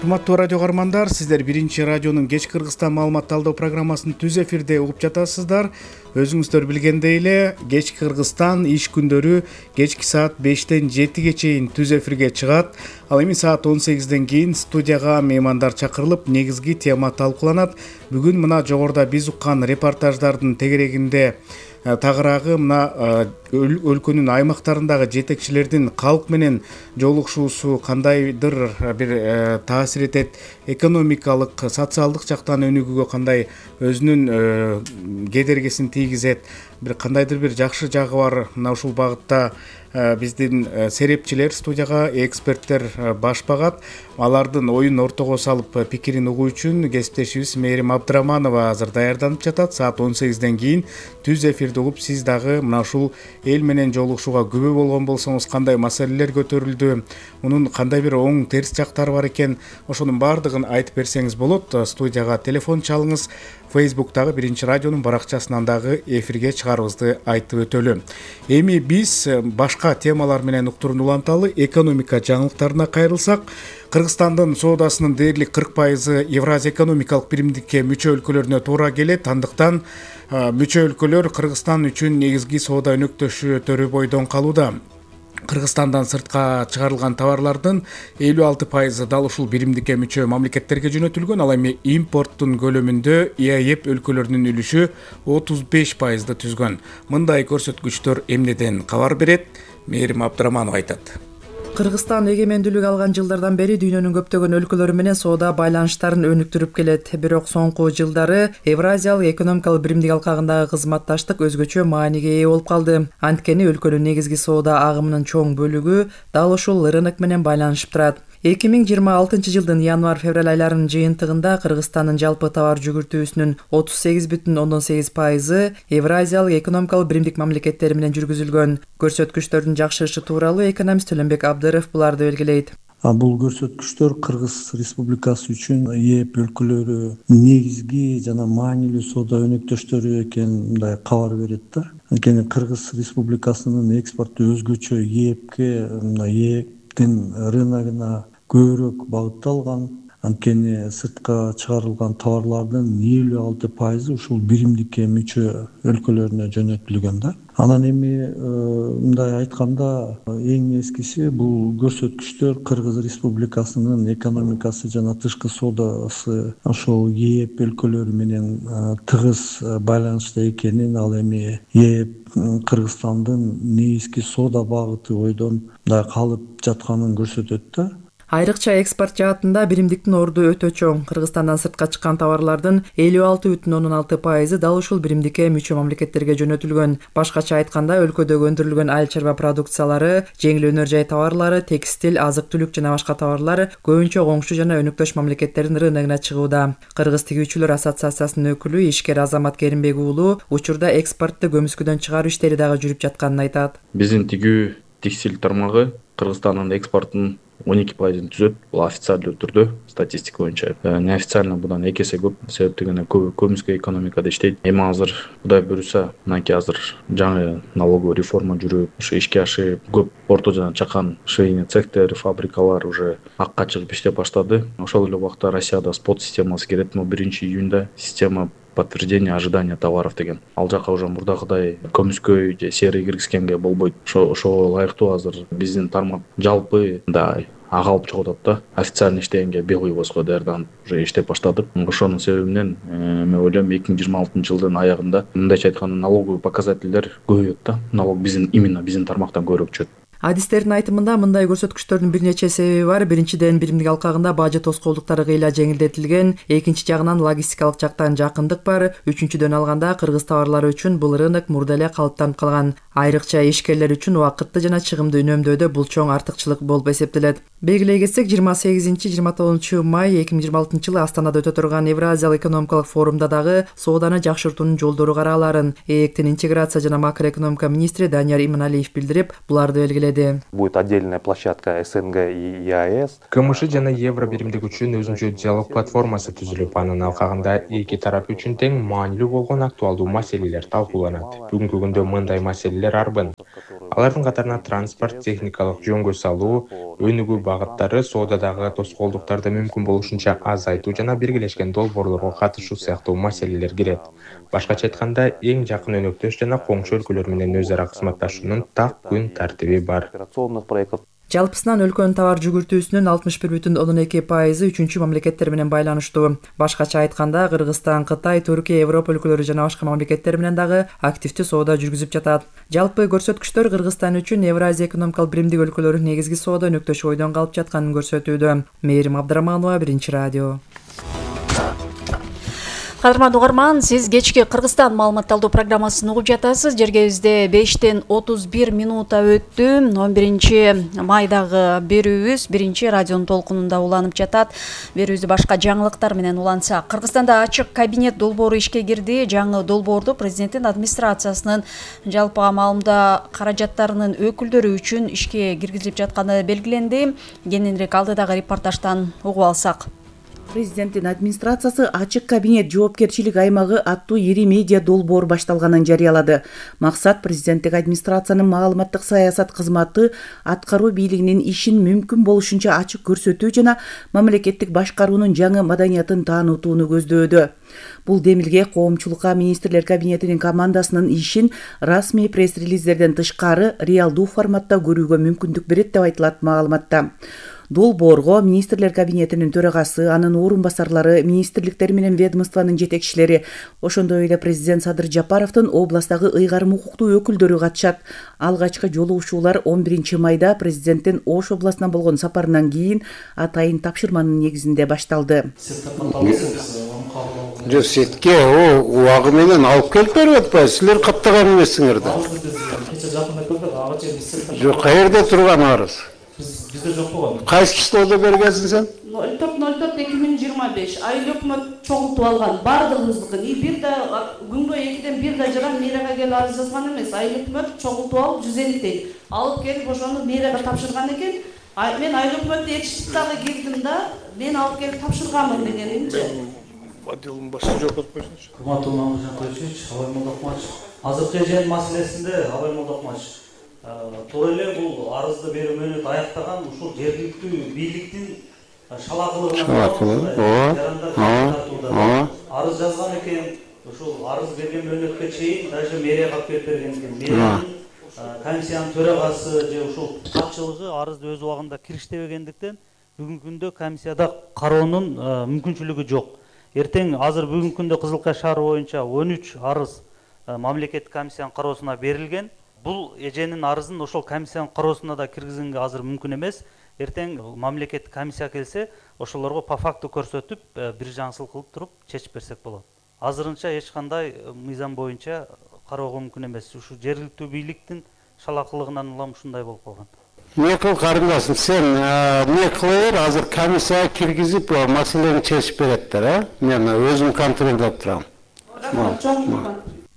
S10: Урматтуу радио каармандар, сиздер Биринчи радионун кеч Кыргызстан маалымат талдоо программасын түз эфирде угуп жатасыздар. Өзүңүздөр билгендей эле, кеч Кыргызстан иш күндөрү кечки саат бештен жетиге чейин түз эфирге чыгат. Ал эми саат он сегизден кийин студияга меймандар чакырылып, негизги тема талкууланат. Бүгүн мына жогоруда биз уккан репортаждардын тегерегинде тагыраагы мына өлкөнүн аймактарындагы жетекчилердин калк менен жолугушуусу кандайдыр бир таасир этет, экономикалык, социалдык жактан өнүгүүгө кандай өзүнүн кедергисин тийгизет, бир кандайдыр бир жакшы жагы бар. Мына ушул багытта биздин серепчилер студияга, эксперттер баш багат. Алардын оюн ортого салып пикирин угуу үчүн кесиптешибиз Мээрим Абдыраманова азыр даярданып жатат. Саат он сегизден кийин түз эфирди угуп, сиз дагы мына ушул эл менен жолугушууга күбө болгон болсоңуз, кандай маселелер көтөрүлдү, мунун кандай бир оң терс жактары бар экен, ошонун баардыгын айтып берсеңиз болот. Студияга телефон чалыңыз. Фейсбуктагы Биринчи радионун баракчасынан дагы эфирге чыгарыбызды айтып өтөлү. Эми биз башка темалар менен уктурун уланталы. Экономика жаңылыктарына кайрылсак, Кыргызстандын соодасынын дээрлик кырк пайызы Евразия экономикалык биримдикке мүчө өлкөлөрүнө туура келет. Андыктан мүчө өлкөлөр Кыргызстан үчүн негизги соода өнөктөшү бойдон калууда. Кыргызстандан сыртка чыгарылган товарлардын элүү алты пайызы дал ушул биримдикке мүчө мамлекеттерге жөнөтүлгөн. Ал эми импорттун көлөмүндө И А Е Б өлкөлөрүнүн үлүшү отуз беш пайызды түзгөн. Мындай көрсөткүчтөр эмнеден кабар берет? Мээрим Абдыраманов айтат.
S1: Кыргызстан эгемендүүлүк алган жылдардан бери дүйнөнүн көптөгөн өлкөлөрү менен соода байланыштарын өнүктүрүп келет. Бирок соңку жылдары Евразиялык экономикалык биримдик алкагындагы кызматташтык өзгөчө мааниге ээ болуп калды. Анткени өлкөнүн негизги соода агымынын чоң бөлүгү дал ушул рынок менен байланышып турат. эки миң жыйырма алтынчы жылдын январь-февраль айларынын жыйынтыгында Кыргызстандын жалпы товар жүгүртүүсүнүн отуз сегиз бүтүн ондон сегиз пайызы Евразиялык экономикалык биримдик мамлекеттери менен жүргүзүлгөн. Көрсөткүчтөрдүн жакшырышы тууралуу экономист Төлөнбек Абдыров буларды белгилейт.
S4: Бул көрсөткүчтөр Кыргыз Республикасы үчүн И А Е Б өлкөлөрү негизги жана маанилүү соода өнөктөштөрү экенин мындай кабар берет да. Анткени Кыргыз Республикасынын экспорту өзгөчө И А Е Бке, мына И А Е Бдин рыногуна көбүрөөк багытталган. Анткени сыртка чыгарылган товарлардын элүү алты пайызы ушул биримдикке мүчө өлкөлөрүнө жөнөтүлгөн да. Анан эми мындай айтканда эң эскиси бул көрсөткүчтөр Кыргыз Республикасынын экономикасы жана тышкы соодасы ошол И А Е Б өлкөлөрү менен тыгыз байланышта экенин, ал эми И А Е Б Кыргызстандын негизги соода багыты бойдон мындай калып жатканын көрсөтөт да.
S1: Айрыкча экспорт жаатында биримдиктин орду өтө чоң. Кыргызстандан сыртка чыккан товарлардын элүү алты бүтүн ондон алты пайызы дал ушул биримдикке мүчө мамлекеттерге жөнөтүлгөн. Башкача айтканда, өлкөдөгү өндүрүлгөн айыл чарба продукциялары, жеңил өнөр жай товарлары, текстиль, азык-түлүк жана башка товарлар көбүнчө коңшу жана өнөктөш мамлекеттердин рыногуна чыгууда. Кыргыз тигүүчүлөр ассоциациясынын өкүлү ишкер Азамат Керимбек уулу учурда экспортту көмүскүдөн чыгаруу иштери дагы жүрүп жатканын айтат.
S23: Биздин тигүү текстиль тармагы Кыргызстандын экспортунун он эки пайызын түзөт. Бул официалдуу түрдө статистика боюнча. Неофициально будан эки эсе көп. Себептен көбү көмүскө экономикада иштейт. Эми азыр Кудай буюрса, мынакей азыр жаңы налоговый реформа жүрүп, ушу ишке ашып, көп орто жана чакан швейный цехтер, фабрикалар уже акка чыгып иштеп баштады. Ошол эле убакта Россияда спот системасы керет. биринчи июнда система подтверждение ожидания товаров деген. Ал жака уже мурдагыдай көмүскө же серый киргизгенге болбойт. Ошо ошого ылайыктуу азыр биздин тармак жалпы мындай ага алып чыгып атат да. Официально иштегенге бел койбоско даярданып уже иштеп баштадык. Ошонун себебинен мен ойлойм эки миң жыйырма алтынчы жылдын аягында мындайча айтканда налоговый показательдер көбөйөт да. Налог биздин именно биздин тармактан көбүрөөк түшөт.
S1: Адистердин айтымында мындай көрсөткүчтөрдүн бир нече себеби бар. Биринчиден, биримдик алкагында бажы тоскоолдуктары кыйла жеңилдетилген. Экинчи жагынан логистикалык жактан жакындык бар. Үчүнчүдөн алганда кыргыз товарлары үчүн бул рынок мурда эле калыптанып калган. Айрыкча ишкерлер үчүн убакытты жана чыгымды үнөмдөөдө бул чоң артыкчылык болуп эсептелет. Белгилей кетсек, жыйырма сегизинчи жыйырма тогузунчу май эки миң жыйырма алтынчы жылы Астанада өтө турган Евразиялык экономикалык форумда дагы сооданы жакшыртуунун жолдору караларын ээктин интеграция жана макроэкономика министри Данияр Иманалиев билдирип, буларды белгиледи.
S5: Будет отдельная площадка СНГ и ЕАЭС.
S6: КМШ жана Евро биримдик үчүн өзүнчө диалог платформасы түзүлүп, анын алкагында эки тарап үчүн тең маанилүү болгон актуалдуу маселелер талкууланат. Бүгүнкү күндө мындай маселелер арбын. Алардын катарына транспорт, техникалык жөнгө салуу, өнүгүү багыттары, соодадагы тоскоолдуктарды мүмкүн болушунча азайтуу жана биргелешкен долбоорлорго катышуу сыяктуу маселелер кирет. Башкача айтканда, эң жакын өнөктөш жана коңшу өлкөлөр менен өз ара кызматташуунун так күн тартиби бар.
S1: Жалпысынан өлкөнүн товар жүгүртүүсүнүн алтымыш бир бүтүн ондон эки пайызы үчүнчү мамлекеттер менен байланыштуу. Башкача айтканда, Кыргызстан, Кытай, Түркия, Европа өлкөлөрү жана башка мамлекеттер менен дагы активдүү соода жүргүзүп жатат. Жалпы көрсөткүчтөр Кыргызстан үчүн Евразия экономикалык биримдик өлкөлөрү негизги соода өнөктөшү ойдон калып жатканын көрсөтүүдө. Мээрим Абдыраманова, Биринчи радио.
S11: Кадырман угарман, сиз кечки Кыргызстан маалыматталдуу программасын угуп жатасыз. Жергебизде бештен отуз бир минута өттү. он биринчи майдагы берүүбүз биринчи радионун толкунунда уланып жатат. Берүүбүздү башка жаңылыктар менен улантсак, Кыргызстанда ачык кабинет долбоору ишке кирди. Жаңы долбоорду президенттин администрациясынын жалпы маалымда каражаттарынын өкүлдөрү үчүн ишке киргизилип жатканы белгиленди. Кененирээк алдыдагы репортаждан угуп алсак.
S7: Президенттин администрациясы ачык кабинет жоопкерчилик аймагы аттуу ири медиа долбоор башталганын жарыялады. Максат президенттик администрациянын маалыматтык саясат кызматы аткаруу бийлигинин ишин мүмкүн болушунча ачык көрсөтүү жана мамлекеттик башкаруунун жаңы маданиятын таанытууну көздөөдө. Бул демилге коомчулукка министрлер кабинетинин командасынын ишин расмий пресс-релиздерден тышкары реалдуу форматта көрүүгө мүмкүндүк берет деп айтылат маалыматта. Долбоорго министрлер кабинетинин төрагасы, анын орун басарлары, министрликтер менен ведомствонун жетекчилери, ошондой эле президент Садыр Жапаровдун областагы ыйгарым укуктуу өкүлдөрү катышат. Алгачкы жолугушуулар он биринчи майда президенттин Ош областына болгон сапарынан кийин атайын тапшырманын негизинде башталды.
S24: Жок, сетке о убагы менен алып келип берип атпайсыз, силер каттаган эмессиңер да. Жок, каерде турган арыз?
S25: Bizde жок болгон.
S24: Кайсы числода бергенсиң сен?
S25: ноль төрт ноль төрт эки миң жыйырма беш айыл өкмөт чогултуп алган бардыгыбыздыкын. Бир да күнгө экиден бир да жаран мэрияга келип арыз жазган эмес. Айыл өкмөт чогултуп алып жүз элүү алып келип ошону мэрияга тапшырган экен. Мен айыл өкмөттү этиштик дагы кирдим да, мен алып келип тапшырганмын дегенимче.
S24: Отделдин башы жок болуп койсунчу.
S25: Кымбаттуу Мамыржан Тойчевич, Абай Молдокмач. Азыркы жер маселесинде Абай Молдокмач туура эле бул арызды берүү мөөнөтү аяктаган ушул жергиликтүү бийликтин шалакылыгына ооба арыз жазган экен. Ушул арыз берген мөөнөткө чейин даже мэрияга алып келип берген экен. Мэриянын комиссиянын төрагасы же ушул катчылыгы арызды өз убагында кириштебегендиктен бүгүнкү күндө комиссияда кароонун мүмкүнчүлүгү жок. Эртең азыр бүгүнкү күндө Кызылкай шаары боюнча он үч арыз мамлекеттик комиссиянын кароосуна берилген. Бул эженин арызын ошол комиссиянын кароосуна да киргизгенге азыр мүмкүн эмес. Эртең мамлекеттик комиссия келсе, ошолорго по факту көрсөтүп, бир жаңсылык кылып туруп чечип берсек болот. Азырынча эч кандай мыйзам боюнча кароого мүмкүн эмес. Ушу жергиликтүү бийликтин шалакылыгынан улам ушундай болуп калган.
S24: Эмне кыл карындашым, сен эмне кылып азыр комиссияга киргизип маселени чечип береттер, э? Мен өзүм контролдоп турам.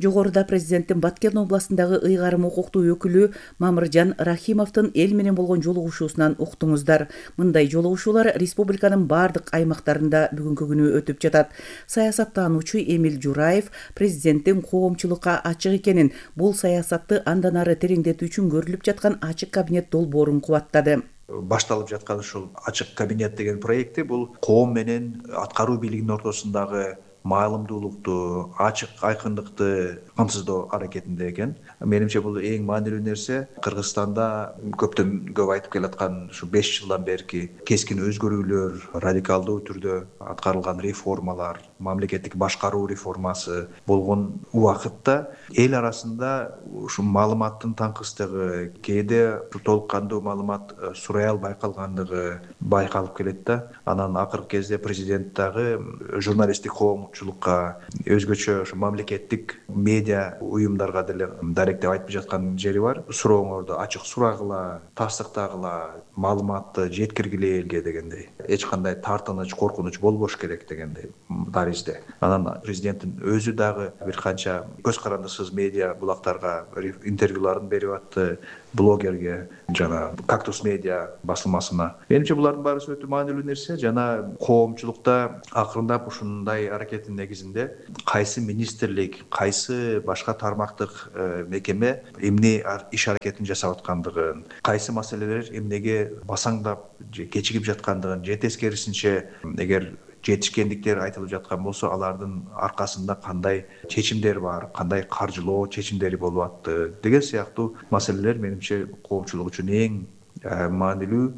S7: Жогоруда президенттин Баткен областындагы ыйгарым укуктуу өкүлү Мамыржан Рахимовдун эл менен болгон жолугушуусунан уктуңуздар. Мындай жолугушуулар республиканын бардык аймактарында бүгүнкү күнү өтүп жатат. Саясаттануучу Эмил Жураев президенттин коомчулукка ачык экенин, бул саясатты андан ары тереңдетүү үчүн көрүлүп жаткан ачык кабинет долбоорун кубаттады.
S26: Башталып жаткан ушул ачык кабинет деген проекти бул коом менен аткаруу бийлигинин ортосундагы маалымдуулукту, ачык айкындыкты камсыздоо аракетинде экен. Менимче бул эң маанилүү нерсе. Кыргызстанда көптөн көп айтып келаткан ушу беш жылдан берки кескин өзгөрүүлөр, радикалдуу түрдө аткарылган реформалар, мамлекеттик башкаруу реформасы болгон убакытта эл арасында ушу маалыматтын таңкыстыгы, кээде толук кандуу маалымат сурай албай калгандыгы байкалып келет да. Анан акыркы кезде президент дагы журналисттик коомчулукка, өзгөчө ошо мамлекеттик медиа уюмдарга деле даректеп айтып жаткан жери бар. Сурооңорду ачык сурагыла, тастыктагыла, маалыматты жеткиргиле элге дегендей. Эч кандай тартыныч, коркунуч болбош керек дегендей даризде. Анан президенттин өзү дагы бир канча көз карандысыз медиа булактарга интервьюларын берип атты, блогерге жана Кактус медиа басылмасына. Менимче булардын баары өтө маанилүү нерсе. Жана коомчулукта акырындап ушундай аракеттин негизинде кайсы министрлик, кайсы башка тармактык мекеме эмне иш аракетин жасап аткандыгын, кайсы маселелер эмнеге басаңдап же кечигип жаткандыгын, же тескерисинче эгер жетишкендиктер айтылып жаткан болсо, алардын аркасында кандай чечимдер бар, кандай каржылоо чечимдери болуп атты деген сыяктуу маселелер менимче коомчулук үчүн эң маанилүү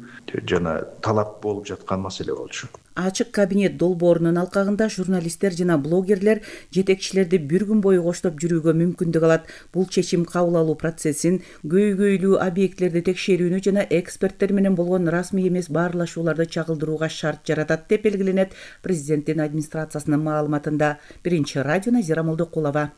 S26: жана талап болуп жаткан маселе болчу.
S7: Ачык кабинет долбоорунун алкагында журналисттер жана блогерлер жетекчилерди бир күн бою коштоп жүрүүгө мүмкүндүк алат. Бул чечим кабыл алуу процессин, көйгөйлүү объектилерди текшерүүнү жана эксперттер менен болгон расмий эмес баарлашууларды чагылдырууга шарт жаратат деп белгиленет президенттин администрациясынын маалыматында. Биринчи радио Назира Молдокулова.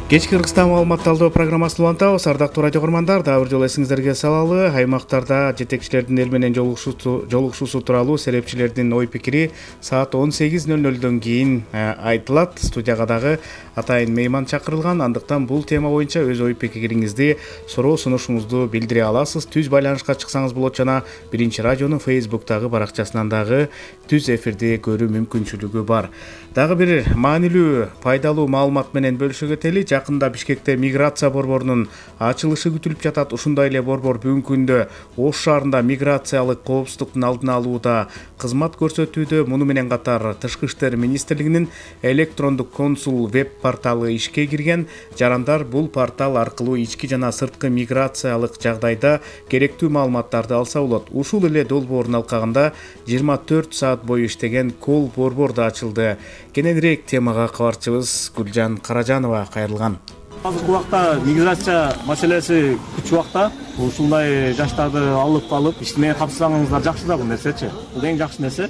S10: Кечки Кыргызстан маалымат талдоо программасын улантабыз. Ардактуу радио көрмандар, дагы бир жолу эсиңиздерге салалы. Аймактарда жетекчилердин эл менен жолугушуусу тууралуу серепчилердин ой пикири саат он сегиз ноль нолдон кийин айтылат. Студияга дагы атайын мейман чакырылган. Андыктан бул тема боюнча өз ой пикириңизди, суроо сунушуңузду билдире аласыз. Түз байланышка чыксаңыз болот жана Биринчи радионун Фейсбуктагы баракчасынан дагы түз эфирди көрүү мүмкүнчүлүгү бар. Дагы бир маанилүү, пайдалуу маалымат менен бөлүшүүгө тели. Жакында Бишкекте миграция борборунун ачылышы күтүлүп жатат. Ушундай эле борбор бүгүнкү күндө Ош шаарында миграциялык коопсуздуктун алдын алууда кызмат көрсөтүүдө. Муну менен катар Тышкы иштер министрлигинин электрондук консул веб порталы ишке кирген. Жарандар бул портал аркылуу ички жана сырткы миграциялык жагдайда керектүү маалыматтарды алса болот. Ушул эле долбоордун алкагында жыйырма төрт саат бою иштеген кол борбор да ачылды. Кененирээк темага кабарчыбыз Гүлжан Каражанова кайрылган.
S2: Азыркы убакта миграция маселеси күч убакта ушундай жаштарды алып калып иштемeye катышсаңыздар жакшы да бул нерсечи. Бул эң жакшы нерсе.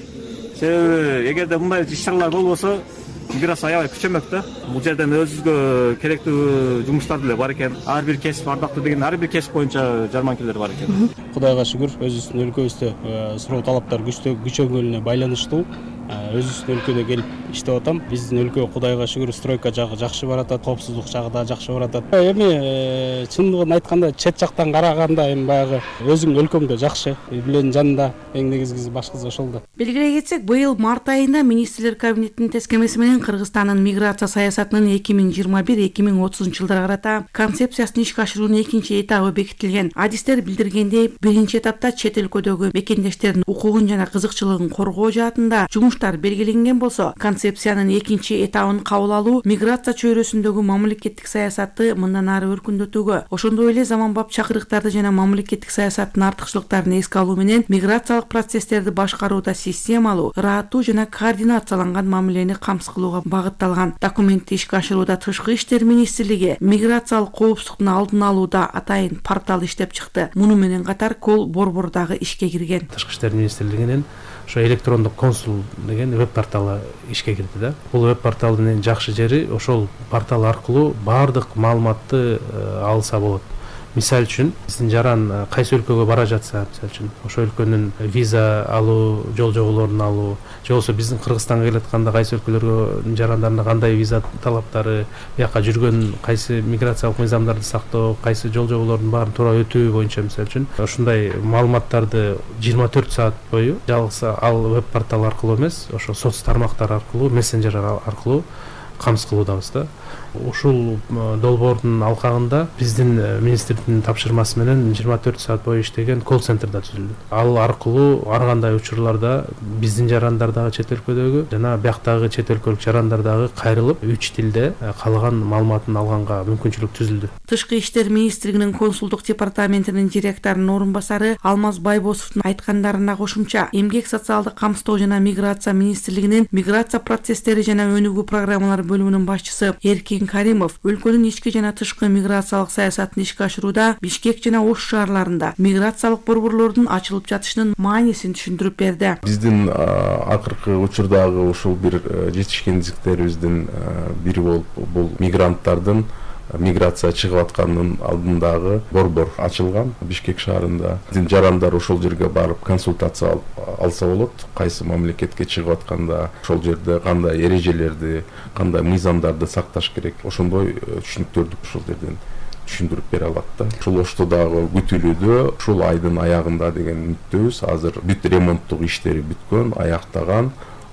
S2: Себеби эгерде мындай иш-чаралар болбосо миграция аябай күчөмөк да. Бул жерден өзүбүзгө керектүү жумуштар деле бар экен. Ар бир кесип ардактуу деген ар бир кесип боюнча жарманкелер бар экен.
S3: Кудайга шүгүр, өзүбүздүн өлкөбүздө суроо талаптар күчөнгөнүнө байланыштуу өзүбүздүн өлкөдө келип иштеп атам. Биздин өлкө Кудайга шүгүр стройка жагы жакшы баратат, коопсуздук жагы да жакшы баратат. Эми чындыгын айтканда чет жактан караганда эми баягы өзүңдүн өлкөңдө жакшы. Билен жанында эң негизгиси башкысы ошол да.
S8: Белгилей кетсек, быйыл март айында министрлер кабинетинин тескемеси менен Кыргызстандын миграция саясатынын эки миң жыйырма бир эки миң отузунчу жылдарга карата концепциясын ишке ашыруунун экинчи этабы бекитилген. Адистер билдиргендей, биринчи этапта чет өлкөдөгү мекендештердин укугун жана кызыкчылыгын коргоо жаатында жумуштар белгиленген болсо, концепциянын экинчи этабын кабыл алуу миграция чөйрөсүндөгү мамлекеттик саясатты мындан ары өркүндөтүүгө, ошондой эле заманбап чакырыктарды жана мамлекеттик саясаттын артыкчылыктарын эске алуу менен миграциялык процесстерди башкарууда системалуу, ыраттуу жана координацияланган мамилени камсыз кылууга багытталган. Документти ишке ашырууда Тышкы иштер министрлиги миграциялык коопсуздуктун алдын алууда атайын портал иштеп чыкты. Муну менен катар кол борбор дагы ишке кирген.
S9: Тышкы иштер министрлигинин ошо электрондук консул деген веб порталы ишке кирди да. Бул веб порталдын эң жакшы жери ошол портал аркылуу баардык маалыматты алса болот. Мисал үчүн биздин жаран кайсы өлкөгө бара жатса, мисал үчүн ошол өлкөнүн виза алуу, жол жоболорун алуу, же болбосо биздин Кыргызстанга келатканда кайсы өлкөлөргө жарандарына кандай виза талаптары, бияка жүргөн кайсы миграциялык мыйзамдарды сактоо, кайсы жол жоболордун баарын туура өтүү боюнча мисал үчүн ушундай маалыматтарды жыйырма төрт саат бою жалгыз ал веб портал аркылуу эмес, ошо соц тармактар аркылуу, мессенджер аркылуу камсыз кылуудабыз да. Ушул долбоордун алкагында биздин министрдин тапшырмасы менен жыйырма төрт саат бою иштеген колл-центр да түзүлдү. Ал аркылуу ар кандай учурларда биздин жарандардагы чет өлкөдөгү жана бияктагы чет өлкөлүк жарандардагы кайрылып үч тилде калган маалыматын алганга мүмкүнчүлүк түзүлдү.
S8: Тышкы иштер министрлигинин консулдук департаментинин директорунун орун басары Алмаз Байбосовдун айткандарына кошумча, эмгек социалдык камсыздоо жана миграция министрлигинин миграция процесстери жана өнүгүү программалары бөлүмүнүн башчысы Эркин Каримов өлкөнүн ички жана тышкы миграциялык саясатын ишке ашырууда Бишкек жана Ош шаарларында миграциялык борборлордун ачылып жатышынын маанисин түшүндүрүп берди.
S12: Биздин акыркы учурдагы ушул бир жетишкендиктерибиздин бири болуп бул мигранттардын миграция чыгып атканынын алдындагы борбор ачылган Бишкек шаарында. Биздин жарандар ошол жерге барып консультация алса болот. Кайсы мамлекетке чыгып атканда ошол жерде кандай эрежелерди, кандай мыйзамдарды сакташ керек, ошондой түшүнүктөрдү ошол жерден түшүндүрүп бере алат да. Ушул Оштодагы күтүлүүдө ушул айдын аягында деген үмүттөбүз. Азыр бүт ремонттук иштери бүткөн, аяктаган.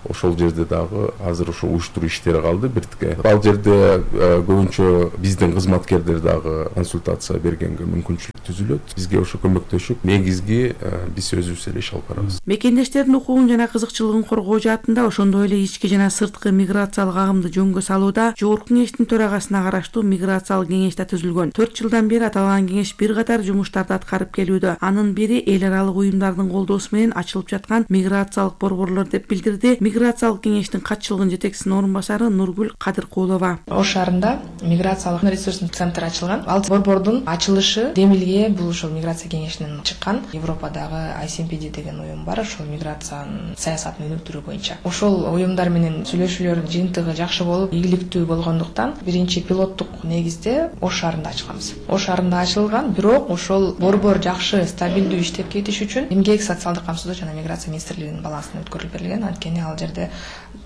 S12: Ошол жерде дагы азыр ошо уюштуруу иштери калды биртке. Ал жерде көбүнчө биздин кызматкерлер дагы консультация бергенге мүмкүнчүлүк түзүлөт. Бизге ошо көмөктөшүп, негизги биз өзүбүз эле иш алып барабыз.
S8: Мекендештердин укугун жана кызыкчылыгын коргоо жаатында ошондой эле ички жана сырткы миграциялык агымды жөнгө салууда Жогорку кеңештин төрагасына караштуу миграциялык кеңеш да түзүлгөн. төрт жылдан бери аталган кеңеш бир катар жумуштарды аткарып келүүдө. Анын бири эл аралык уюмдардын колдоосу менен ачылып жаткан миграциялык борборлор деп билдирди миграциялык кеңештин катчылыгынын жетекчисинин орун басары Нургүл Кадыркулова.
S14: Ош шаарында миграциялык ресурстук центр ачылган. Ал борбордун ачылышы Демилге бул ошол миграция кеңешинен чыккан. Европадагы ай си эм пи ди деген уюм бар, ошол миграциянын саясатын өнүктүрүү боюнча. Ошол уюмдар менен сүйлөшүүлөр жыйынтыгы жакшы болуп, ийгиликтүү болгондуктан биринчи пилоттук негизде Ош шаарында ачылганбыз. Ош шаарында ачылган, бирок ошол борбор жакшы, стабилдүү иштеп кетиш үчүн эмгек социалдык камсыздоо жана миграция министрлигинин балансына өткөрүлүп берилген. Анткени ал жерде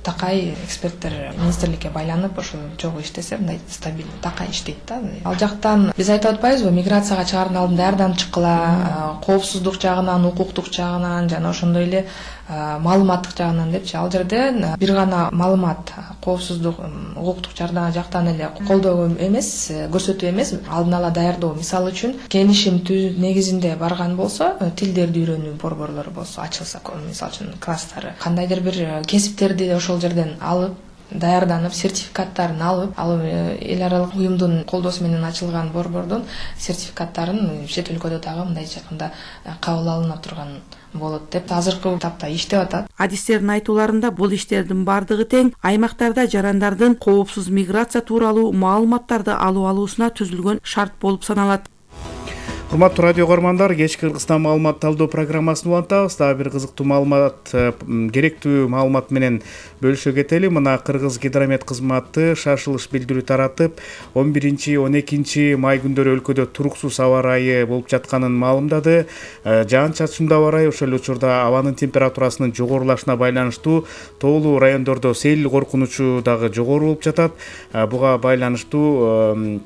S14: такай эксперттер министрликке байланып ошол жогу иштесе мындай стабилдүү такай иштейт да. Ал жактан биз айтып атпайбызбы, миграцияга чыгаардын алдында ар дам чыккыла, коопсуздук жагынан, укуктук жагынан жана ошондой эле маалыматтык жагынан депчи. Ал жерде бир гана маалымат, коопсуздук, укуктук жактан эле колдоо эмес, көрсөтүү эмес, алдын ала даярдоо. Мисалы үчүн келишим түзүү негизинде барган болсо, тилдерди үйрөнүү борборлору болсо ачылса, мисалы үчүн класстары, кандайдыр бир кесиптерди ошол жерден алып, даярданып, сертификаттарын алып, ал эл аралык уюмдун колдоосу менен ачылган борбордун сертификаттарын чет өлкөдө дагы мындай жакында кабыл алына турган болот деп азыркы тапта иштеп атат.
S8: Адистердин айтууларында бул иштердин бардыгы тең аймактарда жарандардын коопсуз миграция тууралуу маалыматтарды алуу алуусуна түзүлгөн шарт болуп саналат.
S10: Урматтуу радио көрмандар, кечки Кыргызстан маалымат талдоо программасын улантабыз. Дагы бир кызыктуу маалымат, керектүү маалымат менен бөлүшө кетели. Мына Кыргыз гидромет кызматы шашылыш билдирүү таратып, он биринчи он экинчи май күндөрү өлкөдө туруксуз аба ырайы болуп жатканын маалымдады. Жаан-чачындуу аба ырайы, ошол эле учурда абанын температурасынын жогорулашына байланыштуу тоолуу райондордо сел коркунучу дагы жогору болуп жатат. Буга байланыштуу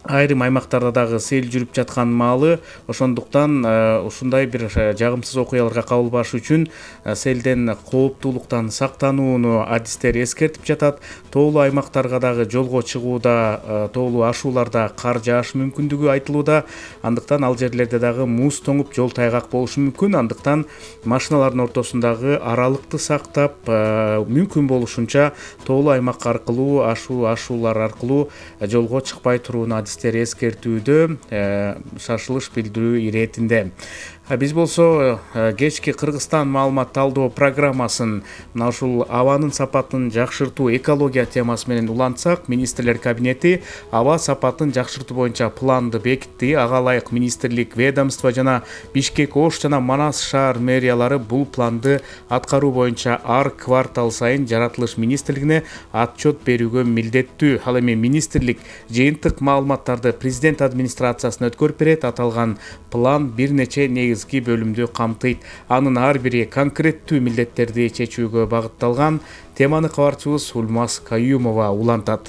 S10: айрым аймактарда дагы сел жүрүп жаткан маалы, ошондуктан ушундай бир жагымсыз окуяларга кабылбаш үчүн селден кооптуулуктан сактанууну адистер эскертип жатат. Тоолуу аймактарга дагы жолго чыгууда, тоолуу ашууларда кар жаашы мүмкүндүгү айтылууда. Андыктан ал жерлерде дагы муз тоңуп, жол тайгак болушу мүмкүн. Андыктан машиналардын ортосундагы аралыкты сактап, мүмкүн болушунча тоолуу аймак аркылуу, ашуу ашуулар аркылуу жолго чыкпай турууну адистер эскертүүдө, шашылыш билдирүү иретинде. Биз болсо кечки Кыргызстан маалымат талдоо программасын мына ушул абанын сапатын жакшыртуу, экология темасы менен улантсак, министрлер кабинети аба сапатын жакшыртуу боюнча планды бекитти. Ага ылайык министрлик, ведомство жана Бишкек, Ош жана Манас шаар мэриялары бул планды аткаруу боюнча ар квартал сайын жаратылыш министрлигине отчет берүүгө милдеттүү. Ал эми министрлик жыйынтык маалыматтарды президент администрациясына өткөрүп берет. Аталган план бир нече негиз бөлүмдү камтыйт. Анын ар бири конкреттүү милдеттерди чечүүгө багытталган. Теманы кабарчыбыз Улмаз Каюмова улантат.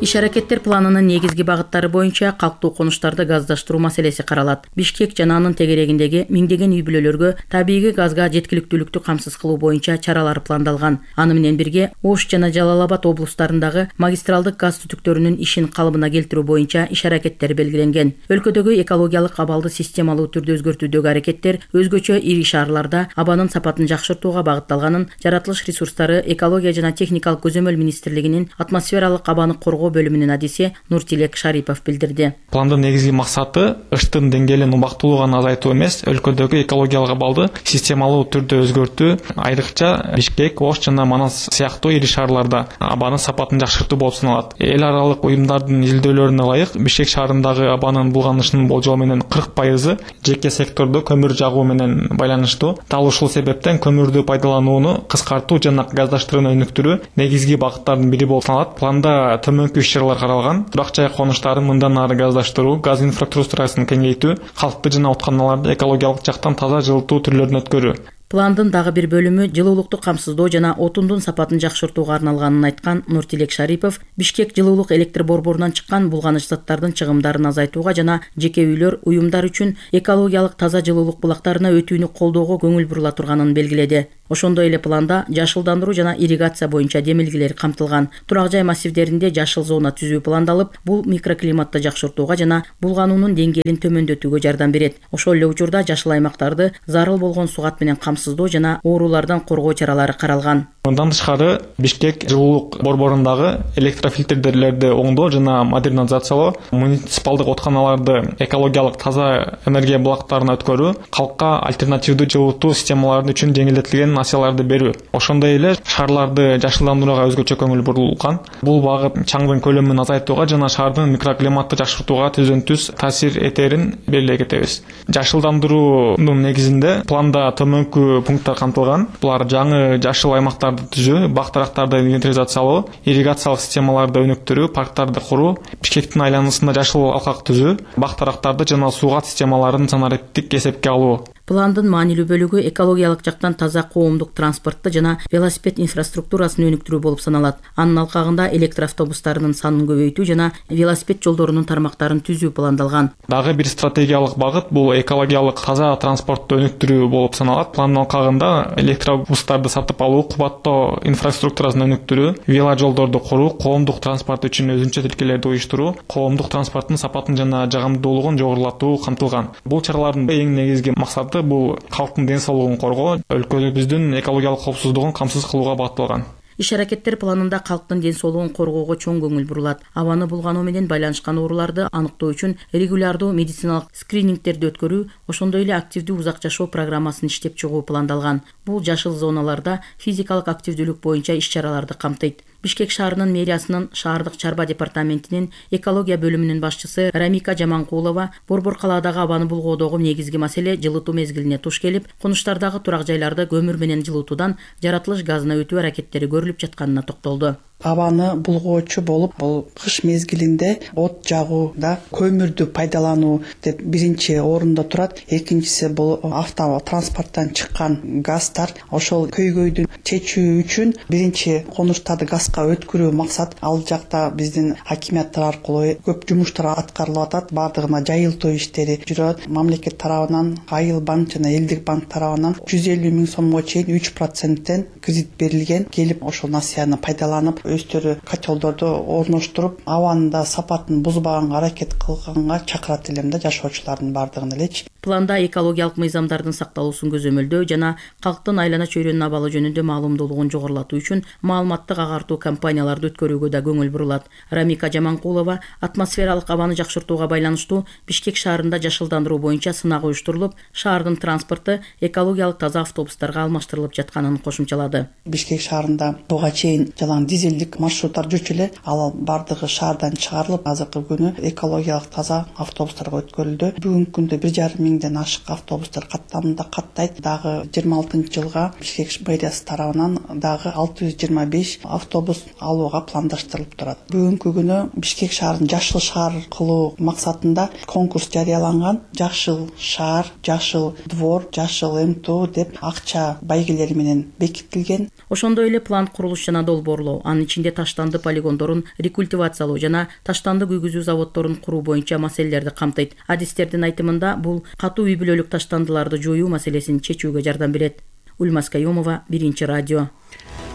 S7: Иш аракеттер планынын негизги багыттары боюнча калктуу конуштарды газдаштыруу маселеси каралат. Бишкек жана анын тегерегиндеги миңдеген үй бүлөлөргө табигый газга жеткиликтүүлүктү камсыз кылуу боюнча чаралар пландалган. Аны менен бирге Ош жана Жалал Абад облустарындагы магистралдык газ түтүктөрүнүн ишин калыбына келтирүү боюнча иш аракеттер белгиленген. Өлкөдөгү экологиялык абалды системалуу түрдө өзгөртүүдөгү аракеттер өзгөчө ири шаарларда абанын сапатын жакшыртууга багытталганын Жаратылыш ресурстары, экология жана техникалык көзөмөл министрлигинин атмосфералык абаны коргоо бөлүмүнүн адиси Нуртилек Шарипов билдирди.
S15: Пландын негизги максаты ыштын деңгээлин убактылуу гана азайтуу эмес, өлкөдөгү экологиялык абалды системалуу түрдө өзгөртүү, айрыкча Бишкек, Ош жана Манас сыяктуу ири шаарларда абанын сапатын жакшыртуу болуп саналат. Эл аралык уюмдардын изилдөөлөрүнө ылайык, Бишкек шаарындагы абанын булганышынын болжол менен кырк пайызы жеке сектордо көмүр жагуу менен байланыштуу. Дал ушул себептен көмүрдү пайдаланууну кыскартуу жана газдаштырууну өнүктүрүү негизги багыттардын бири болуп саналат. Планда төмөнкү иш-чаралар каралган. Турак жай конуштарын мындан ары газдаштыруу, газ инфраструктурасын кеңейтүү, калкты жана ооруканаларды экологиялык жактан таза жылытуу түрлөрүн өткөрүү.
S7: Пландын дагы бир бөлүмү жылуулукту камсыздоо жана отундун сапатын жакшыртууга арналганын айткан Нуртилек Шарипов, Бишкек жылуулук электр борборунан чыккан булганыч заттардын чыгымдарын азайтууга жана жеке үйлөр, уюмдар үчүн экологиялык таза жылуулук булактарына өтүүнү колдоого көңүл бурула турганын белгиледи. Ошондой эле планда жашылдандыруу жана ирригация боюнча демилгелер камтылган. Турак жай массивдеринде жашыл зона түзүү пландалып, бул микроклиматты жакшыртууга жана булгануунун деңгээлин төмөндөтүүгө жардам берет. Ошол эле учурда жашыл аймактарды зарыл болгон сугат менен камсыздоо жана оорулардан коргоо чаралары каралган.
S15: Мындан тышкары Бишкек жылуулук борборундагы электрофильтрлерди оңдоо жана модернизациялоо, муниципалдык ооруканаларды экологиялык таза энергия булактарына өткөрүү, калкка альтернативдүү жылытуу системалары үчүн жеңилдетилген насыяларды берүү. Ошондой эле шаарларды жашылдандырууга өзгөчө көңүл бурулган. Бул багыт чаңдын көлөмүн азайтууга жана шаардын микроклиматты жакшыртууга түзөн түз таасир этерин белгилей кетебиз. Жашылдандыруунун негизинде планда төмөнкү пункттар камтылган. Булар жаңы жашыл аймактарды түзүү, бак-дарактарды инвентаризациялоо, ирригациялык системаларды өнүктүрүү, парктарды куруу, Бишкектин айланасында жашыл алкак түзүү, бак-дарактарды жана суугат системаларын санариптик эсепке алуу.
S7: Пландын маанилүү бөлүгү экологиялык жактан таза коомдук транспортты жана велосипед инфраструктурасын өнүктүрүү болуп саналат. Анын алкагында электр автобустарынын санын көбөйтүү жана велосипед жолдорунун тармактарын түзүү пландалган.
S15: Дагы бир стратегиялык багыт бул экологиялык таза транспортту өнүктүрүү болуп саналат. Пландын алкагында электробустарды сатып алуу, кубаттоо инфраструктурасын өнүктүрүү, веложолдорду куруу, коомдук транспорт үчүн өзүнчө тилкелерди уюштуруу, коомдук транспорттун сапатын жана жагымдуулугун жогорулатуу камтылган. Бул чаралардын эң негизги максаты бул калктын ден соолугун коргоо, өлкөбүздүн экологиялык коопсуздугун камсыз кылууга багытталган.
S7: Иш аракеттер планында калктын ден соолугун коргоого чоң көңүл бурулат. Абаны булгануу менен байланышкан ооруларды аныктоо үчүн регулярдуу медициналык скринингтерди өткөрүү, ошондой эле активдүү узак жашоо программасын иштеп чыгуу пландалган. Бул жашыл зоналарда физикалык активдүүлүк боюнча иш-чараларды камтыйт. Бишкек шаарынын мэриясынын шаардык чарба департаментинин экология бөлүмүнүн башчысы Рамика Жаманкулова борбор калаадагы абаны булгоодогу негизги маселе жылытуу мезгилине туш келип, конуштардагы турак жайларды көмүр менен жылытуудан жаратылыш газына өтүү аракеттери көрүлүп жатканына токтолду.
S16: Абаны булгоочу болуп, бул кыш мезгилинде от жагууда көмүрдү пайдалануу деп биринчи орунда турат. Экинчиси бул авто транспорттон чыккан газдар. Ошол көйгөйдү чечүү үчүн биринчи конуштарды газга өткөрүү максат. Ал жакта биздин акиматтар аркылуу көп жумуштар аткарылып атат. Бардыгына жайылтуу иштери жүрөт. Мамлекет тарабынан, Айыл банк жана Элдик банк тарабынан жүз элүү миң сомго чейин үч проценттен кредит берилген. Келип ошол насыяны пайдаланып өздөрү котелдорду орноштуруп, абанын да сапатын бузбаганга аракет кылганга чакырат элем да жашоочулардын бардыгын элечи.
S7: Планда экологиялык мыйзамдардын сакталуусун көзөмөлдөө жана калктын айлана чөйрөнүн абалы жөнүндө маалымдуулугун жогорулатуу үчүн маалыматтык агартуу кампанияларды өткөрүүгө да көңүл бурулат. Рамика Жаманкулова атмосфералык абаны жакшыртууга байланыштуу Бишкек шаарында жашылдандыруу боюнча сынак уюштурулуп, шаардын транспорту экологиялык таза автобустарга алмаштырылып жатканын кошумчалады.
S16: Бишкек шаарында буга чейин жалаң дизелдик маршруттар жүрчү эле, ал бардыгы шаардан чыгарылып, азыркы күнү экологиялык таза автобустарга өткөрүлдү. Бүгүнкү күндө бир жарым миң миңден ашык автобустар каттамында каттайт. Дагы жыйырма алтынчы жылга Бишкек мэриясы тарабынан дагы алты жүз жыйырма беш автобус алууга пландаштырылып турат. Бүгүнкү күнү Бишкек шаарын жашыл шаар кылуу максатында конкурс жарыяланган. Жашыл шаар, жашыл двор, жашыл МТУ деп акча байгелери менен бекитилген.
S17: Ошондой эле план курулуш жана долбоорлоо, анын ичинде таштанды полигондорун рекультивациялоо жана таштанды күйгүзүү заводдорун куруу боюнча маселелерди камтыйт. Адистердин айтымында бул катуу үй бүлөлүк таштандыларды жоюу маселесин чечүүгө жардам берет. Ульмас Каюмова, Биринчи радио.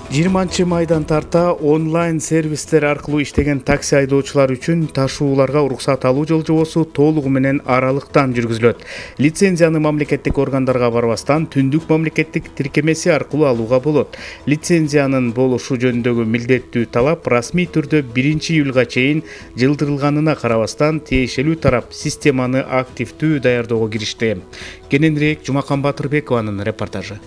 S10: жыйырманчы майдан тарта онлайн сервистер аркылуу иштеген такси айдоочулар үчүн ташууларга уруксат алуу жылжоосу толугу менен аралыктан жүргүзүлөт. Лицензияны мамлекеттик органдарга барбастан түндүк мамлекеттик тиркемеси аркылуу алууга болот. Лицензиянын болушу жөнүндөгү милдеттүү талап расмий түрдө биринчи июлга чейин жылдырылганына карабастан тиешелүү тарап системаны активдүү даярдоого киришти. Кененирээк Жумакан Батырбекованын репортажы.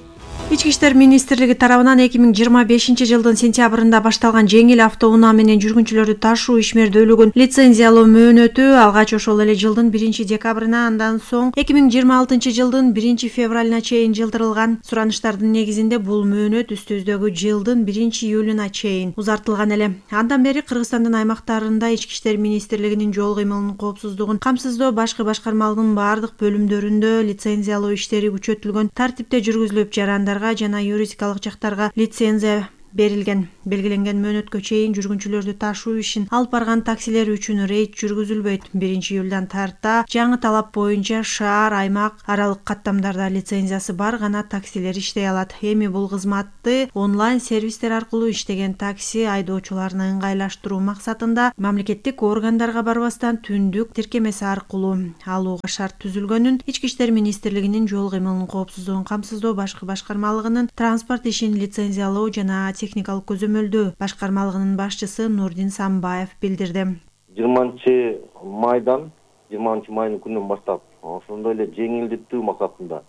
S18: Ички иштер министрлиги тарабынан эки миң жыйырма бешинчи жылдын сентябрында башталган жеңил автоунаа менен жүргүнчүлөрдү ташуу ишмердүүлүгүн лицензиялоо мөөнөтү алгач ошол эле жылдын биринчи декабрына, андан соң эки миң жыйырма алтынчы жылдын биринчи февралына чейин жылдырылган. Суранычтардын негизинде бул мөөнөт үстүбүздөгү жылдын биринчи июлуна чейин узартылган эле. Андан бери Кыргызстандын аймактарында ички иштер министрлигинин жол кыймылынын коопсуздугун камсыздоо башкы башкармалыгынын бардык бөлүмдөрүндө лицензиялоо иштери күчөтүлгөн тартипте жүргүзүлүп, жарандарга жана юридикалык жактарга лицензия берилген. Белгиленген мөөнөткө чейин жүргүнчүлөрдү ташуу ишин алып барган таксилер үчүн рейд жүргүзүлбөйт. биринчи июлдан тарта жаңы талап боюнча шаар, аймак аралык каттамдарда лицензиясы бар гана таксилер иштей алат. Эми бул кызматты онлайн сервистер аркылуу иштеген такси айдоочуларына ыңгайлаштыруу максатында мамлекеттик органдарга барбастан түндүк тиркемеси аркылуу алууга шарт түзүлгөнүн Ички иштер министрлигинин жол кыймылынын коопсуздугун камсыздоо башкы башкармалыгынын транспорт ишин лицензиялоо жана техникалык көзөмөлдөө башкармалыгынын башчысы Нурдин Самбаев билдирди.
S19: жыйырманчы майдан, жыйырманчы майдын күнүнөн баштап ошондой эле жеңилдетүү максатында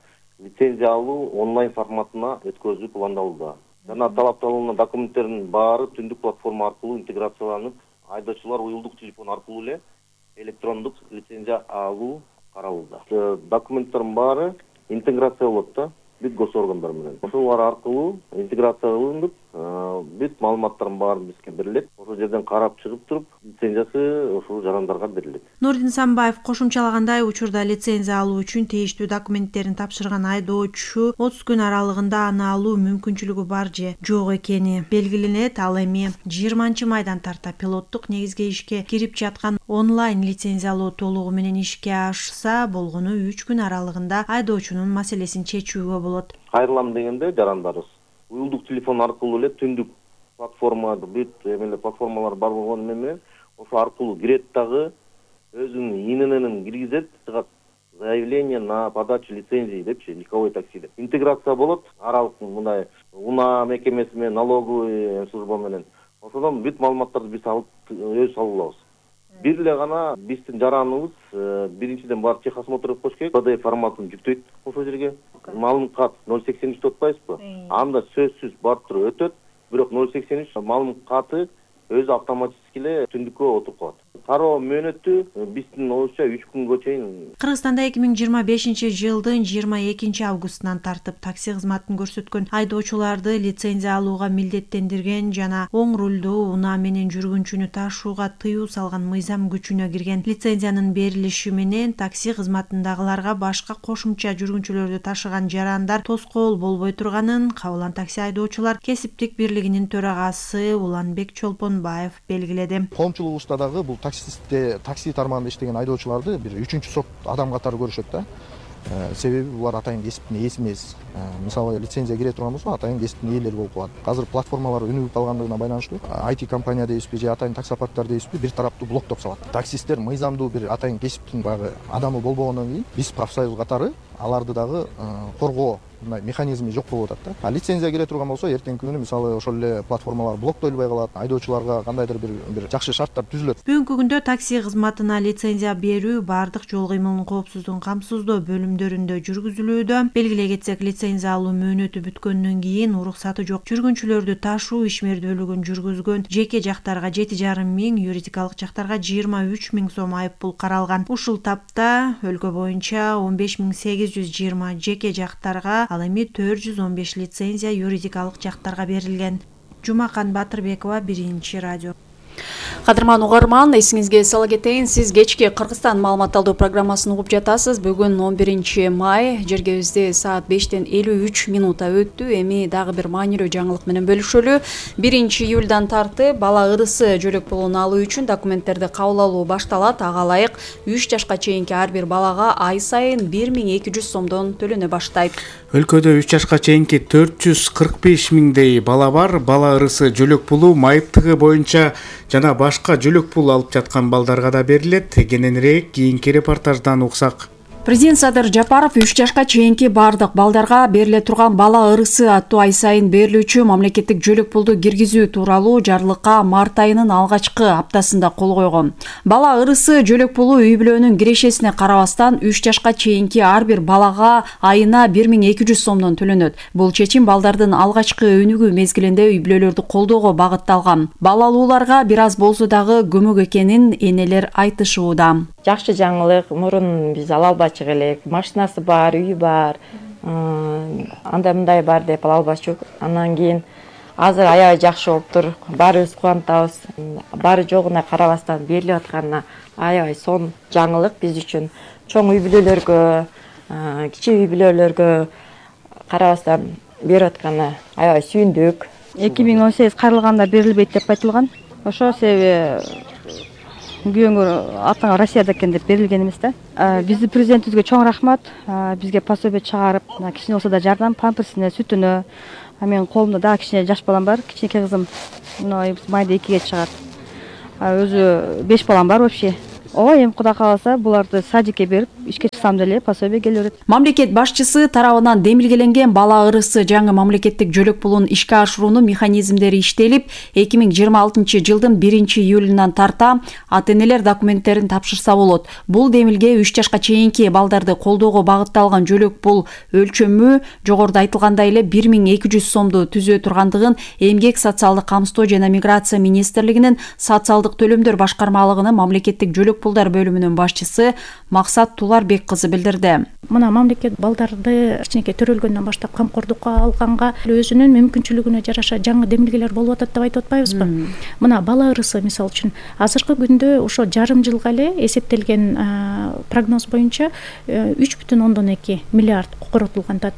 S19: лицензия алуу онлайн форматына өткөзүү пландалууда. Жана талапталган документтердин баары түндүк платформа аркылуу интеграцияланып, айдоочулар уюлдук телефон аркылуу эле электрондук лицензия алуу каралууда. Документтердин баары интеграция болот да. Бүт госоргандар менен. Ошолор аркылуу интеграцияланып, бүт маалыматтардын баары бизге берилет. Ошол жерден карап чыгып туруп, лицензиясы ошол жарандарга берилет.
S18: Нурдин Самбаев кошумчалагандай, учурда лицензия алуу үчүн тийиштүү документтерин тапшырган айдоочу отуз күн аралыгында аны алуу мүмкүнчүлүгү бар же жок экени белгиленет. Ал эми жыйырманчы майдан тарта пилоттук негизге ишке кирип жаткан онлайн лицензиялоо толугу менен ишке ашса болгону үч күн аралыгында айдоочунун маселесин чечүүгө болот.
S19: Кайрылам дегенде жарандарыбыз уюлдук телефон аркылуу эле түндүк платформа, бүт эмелер платформалар бар болгону менен ошо аркылуу кирет дагы өзүнүн ИНН киргизет, чыгат заявление на подачу лицензии депчи, легковой таксиде. Интеграция болот аралык мындай унаа мекемеси менен, налоговый служба менен. Ошодон бүт маалыматтарды биз алып өз алабыз. Бир эле гана биздин жараныбыз биринчиден барып техосмотр өткөзүш керек, P D F форматын жүктөйт ошол жерге. Маалым кат ноль сексен үч деп атпайсызбы? Анда сөзсүз барып туруп өтөт, бирок ноль сексен үч маалым каты өзү автоматически эле түндүккө отуруп калат. Кароо мөөнөтү биздин оюшча үч күнгө чейин.
S18: Кыргызстанда эки миң жыйырма бешинчи жылдын жыйырма экинчи августунан тартып такси кызматын көрсөткөн айдоочуларды лицензия алууга милдеттендирген жана оң рулдуу унаа менен жүргүнчүнү ташууга тыюу салган мыйзам күчүнө кирген. Лицензиянын берилиши менен такси кызматындагыларга башка кошумча жүргүнчүлөрдү ташыган жарандар тоскоол болбой турганын Кабылан такси айдоочулар кесиптик бирлигинин төрагасы Уланбек Чолпонбаев белгиледи.
S20: Коомчулугубузда дагы бул таксистте такси тармагында иштеген айдоочуларды бир үчүнчү сорт адам катары көрүшөт да. Себеби булар атайын кесиптин ээси эмес. Мисалы лицензия кире турган болсо атайын кесиптин ээлери болуп калат. Азыр платформалар өнүгүп калгандыгына байланыштуу ай ти компания дейбизби же атайын таксопарктар дейбизби бир тараптуу блоктоп салат. Таксисттер мыйзамдуу бир атайын кесиптин баягы адамы болбогондон кийин биз профсоюз катары аларды дагы коргоо мындай механизми жок болуп атат да. Лицензия келе турган болсо эртеңки күнү мисалы ошол эле платформалар блоктолбой калат, айдоочуларга кандайдыр бир бир жакшы шарттар түзүлөт.
S18: Бүгүнкү күндө такси кызматына лицензия берүү бардык жол кыймылынын коопсуздугун камсыздоо бөлүмдөрүндө жүргүзүлүүдө. Белгилей кетсек, лицензия алуу мөөнөтү бүткөндөн кийин уруксаты жок жүргүнчүлөрдү ташуу ишмердүүлүгүн жүргүзгөн жеке жактарга жети жарым миң, юридикалык жактарга жыйырма үч миң сом айып пул каралган. Ушул тапта өлкө боюнча он беш миң сегиз жүз жыйырма жеке жактарга, ал эми төрт жүз он беш лицензия юридикалык жактарга берилген. Жумакан Батырбекова, Биринчи радио.
S11: Кадырман угарман, эсиңизге сала кетейин, сиз кечки Кыргызстан маалымат алуу программасын угуп жатасыз. Бүгүн он биринчи май, жергебизде саат бештен элүү үч минута өттү. Эми дагы бир маанилүү жаңылык менен бөлүшөлү. биринчи июлдан тартып бала ырысы жөлөк пулун алуу үчүн документтерди кабыл алуу башталат. Ага ылайык үч жашка чейинки ар бир балага ай сайын бир миң эки жүз сомдон төлөнө баштайт.
S10: Өлкөдө үч жашка чейинки төрт жүз кырк беш миңдей бала бар. Бала ырысы жөлөк пулу майыптыгы боюнча жана башка жөлөк пул алып жаткан балдарга да берилет. Кененирээк кийинки репортаждан уксак.
S11: Президент Садыр Жапаров үч жашка чейинки бардык балдарга бериле турган бала ырысы аттуу ай сайын берилүүчү мамлекеттик жөлөк пулду киргизүү тууралуу жарлыкка март айынын алгачкы аптасында кол койгон. Бала ырысы жөлөк пулу үй бүлөнүн кирешесине карабастан үч жашка чейинки ар бир балага айына бир миң эки жүз сомдон төлөнөт. Бул чечим балдардын алгачкы өнүгүү мезгилинде үй бүлөлөрдү колдоого багытталган. Балалууларга бир аз болсо дагы көмөк экенин энелер айтышууда.
S4: Жакшы жаңылык, мурун биз ала албачу элек, машинасы бар, үйү бар, андай мындай бар деп ала албачук. Андан кийин азыр аябай жакшы болуптур, баарыбыз кубанатабыз. Баары жогуна карабастан берилип атканына аябай сонун жаңылык биз үчүн. Чоң үй бүлөлөргө, кичи үй бүлөлөргө карабастан берип атканына аябай сүйүндүк.
S5: эки миң он сегиз каралганда берилбейт деп айтылган. Ошо себеби күйөөңөр атаңа Россияда экен деп берилген эмес да. Биздин президентибизге чоң рахмат. Бизге пособие чыгарып, кичине болсо да жардам, памперсине, сүтүнө. Менин колумда дагы кичине жаш балам бар, кичинекей кызым. Майда экиге чыгат. Өзү беш балам бар вообще. Ооба, эми Кудай кааласа буларды садикке берип, ишке чыксам деле пособие келе берет.
S11: Мамлекет башчысы тарабынан демилгеленген бала ырысы жаңы мамлекеттик жөлөк пулун ишке ашыруунун механизмдери иштелип, эки миң жыйырма алтынчы жылдын биринчи июлунан тарта ата-энелер документтерин тапшырса болот. Бул демилге үч жашка чейинки балдарды колдоого багытталган жөлөк пул өлчөмү жогоруда айтылгандай эле бир миң эки жүз сомду түзө тургандыгын Эмгек социалдык камсыздоо жана миграция министрлигинин социалдык төлөмдөр башкармалыгынын мамлекеттик жөлөк пулдар бөлүмүнүн башчысы Максат Туларбек кызы билдирди.
S13: Мына мамлекет балдарды кичинекей төрөлгөндөн баштап камкордукка алганга өзүнүн мүмкүнчүлүгүнө жараша жаңы демилгелер болуп атат деп айтып атпайбызбы? Мына бала ырысы мисалы үчүн азыркы күндө ошо жарым жылга эле эсептелген прогноз боюнча үч бүтүн ондон эки миллиард коротулган да.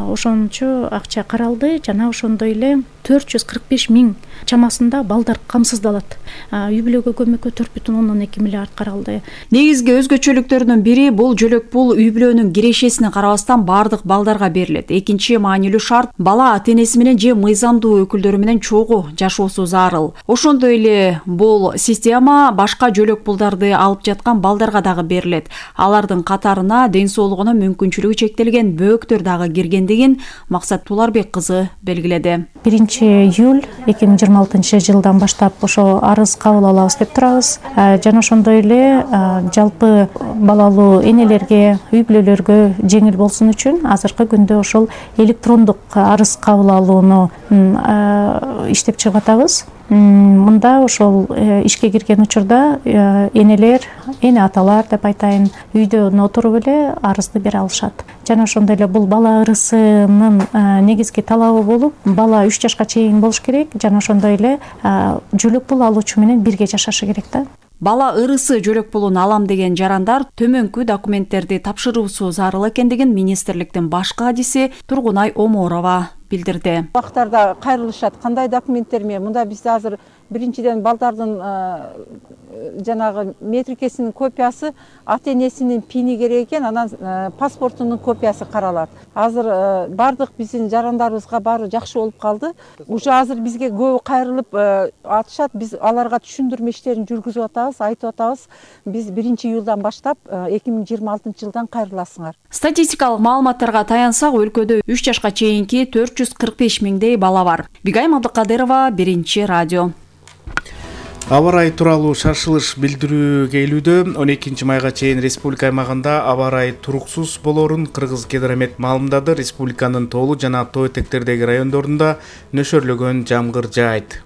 S13: Ошончо акча каралды жана ошондой эле төрт жүз кырк беш миң чамасында балдар камсыздалат. Үй бүлөгө көмөккө төрт бүтүн ондон эки миллиард каралды.
S11: Негизги өзгөчөлүктөрүнүн бири бул жөлөк пул үй бүлөнүн кирешесине карабастан бардык балдарга берилет. Экинчи маанилүү шарт бала ата-энеси менен же мыйзамдуу өкүлдөрү менен чогуу жашоосу зарыл. Ошондой эле бул система башка жөлөк пулдарды алып жаткан балдарга дагы берилет. Алардын катарына ден соолугуна мүмкүнчүлүгү чектелген бөөктөр дагы киргендигин Максат Туларбек кызы белгиледи.
S13: биринчи июль эки миң жыйырма алтынчы жылдан баштап ошо арыз кабыл алабыз деп турабыз. Жана ошондой эле жалпы балалуу энелерге, үй бүлөлөргө жеңил болсун үчүн азыркы күндө ошол электрондук арыз кабыл алууну иштеп чыгып атабыз. Мында ошол ишке кирген учурда энелер, эне аталар деп айтайын, үйдөн отуруп эле арызды бере алышат. Жана ошондой эле бул бала ырысынын негизги талабы болуп, бала үч жашка чейин болуш керек, жана ошондой эле жөлөк пул алуучу менен бирге жашашы керек да.
S11: Бала ырысы жөлөк пулун алам деген жарандар төмөнкү документтерди тапшыруусу зарыл экендигин министрликтин баш кадиси Тургунай Оморова билдирди.
S21: Бактарда кайрылышат, кандай документтер менен? Мында биз азыр
S1: биринчиден балдардын жанагы метрикесинин копиясы, ата энесинин пини керек экен, анан паспортунун копиясы каралат. Азыр бардык биздин жарандарыбызга баары жакшы болуп калды. Уже азыр бизге көбү кайрылып атышат. Биз аларга түшүндүрмө иштерин жүргүзүп атабыз, айтып атабыз. Биз биринчи июлдан баштап эки миң жыйырма алтынчы жылдан кайрыласыңар.
S11: Статистикалык маалыматтарга таянсак, өлкөдө үч жашка чейинки төрт жүз кырк беш миңдей бала бар. Бигайым Абдыкадырова, Биринчи радио.
S10: Аба ырайы тууралуу шашылыш билдирүү келүүдө. он экинчи майга чейин республика аймагында аба ырайы туруксуз болорун Кыргыз Гидромет маалымдады. Республиканын тоолуу жана тоо этектердеги райондорунда нөшөрлөгөн жамгыр жаайт.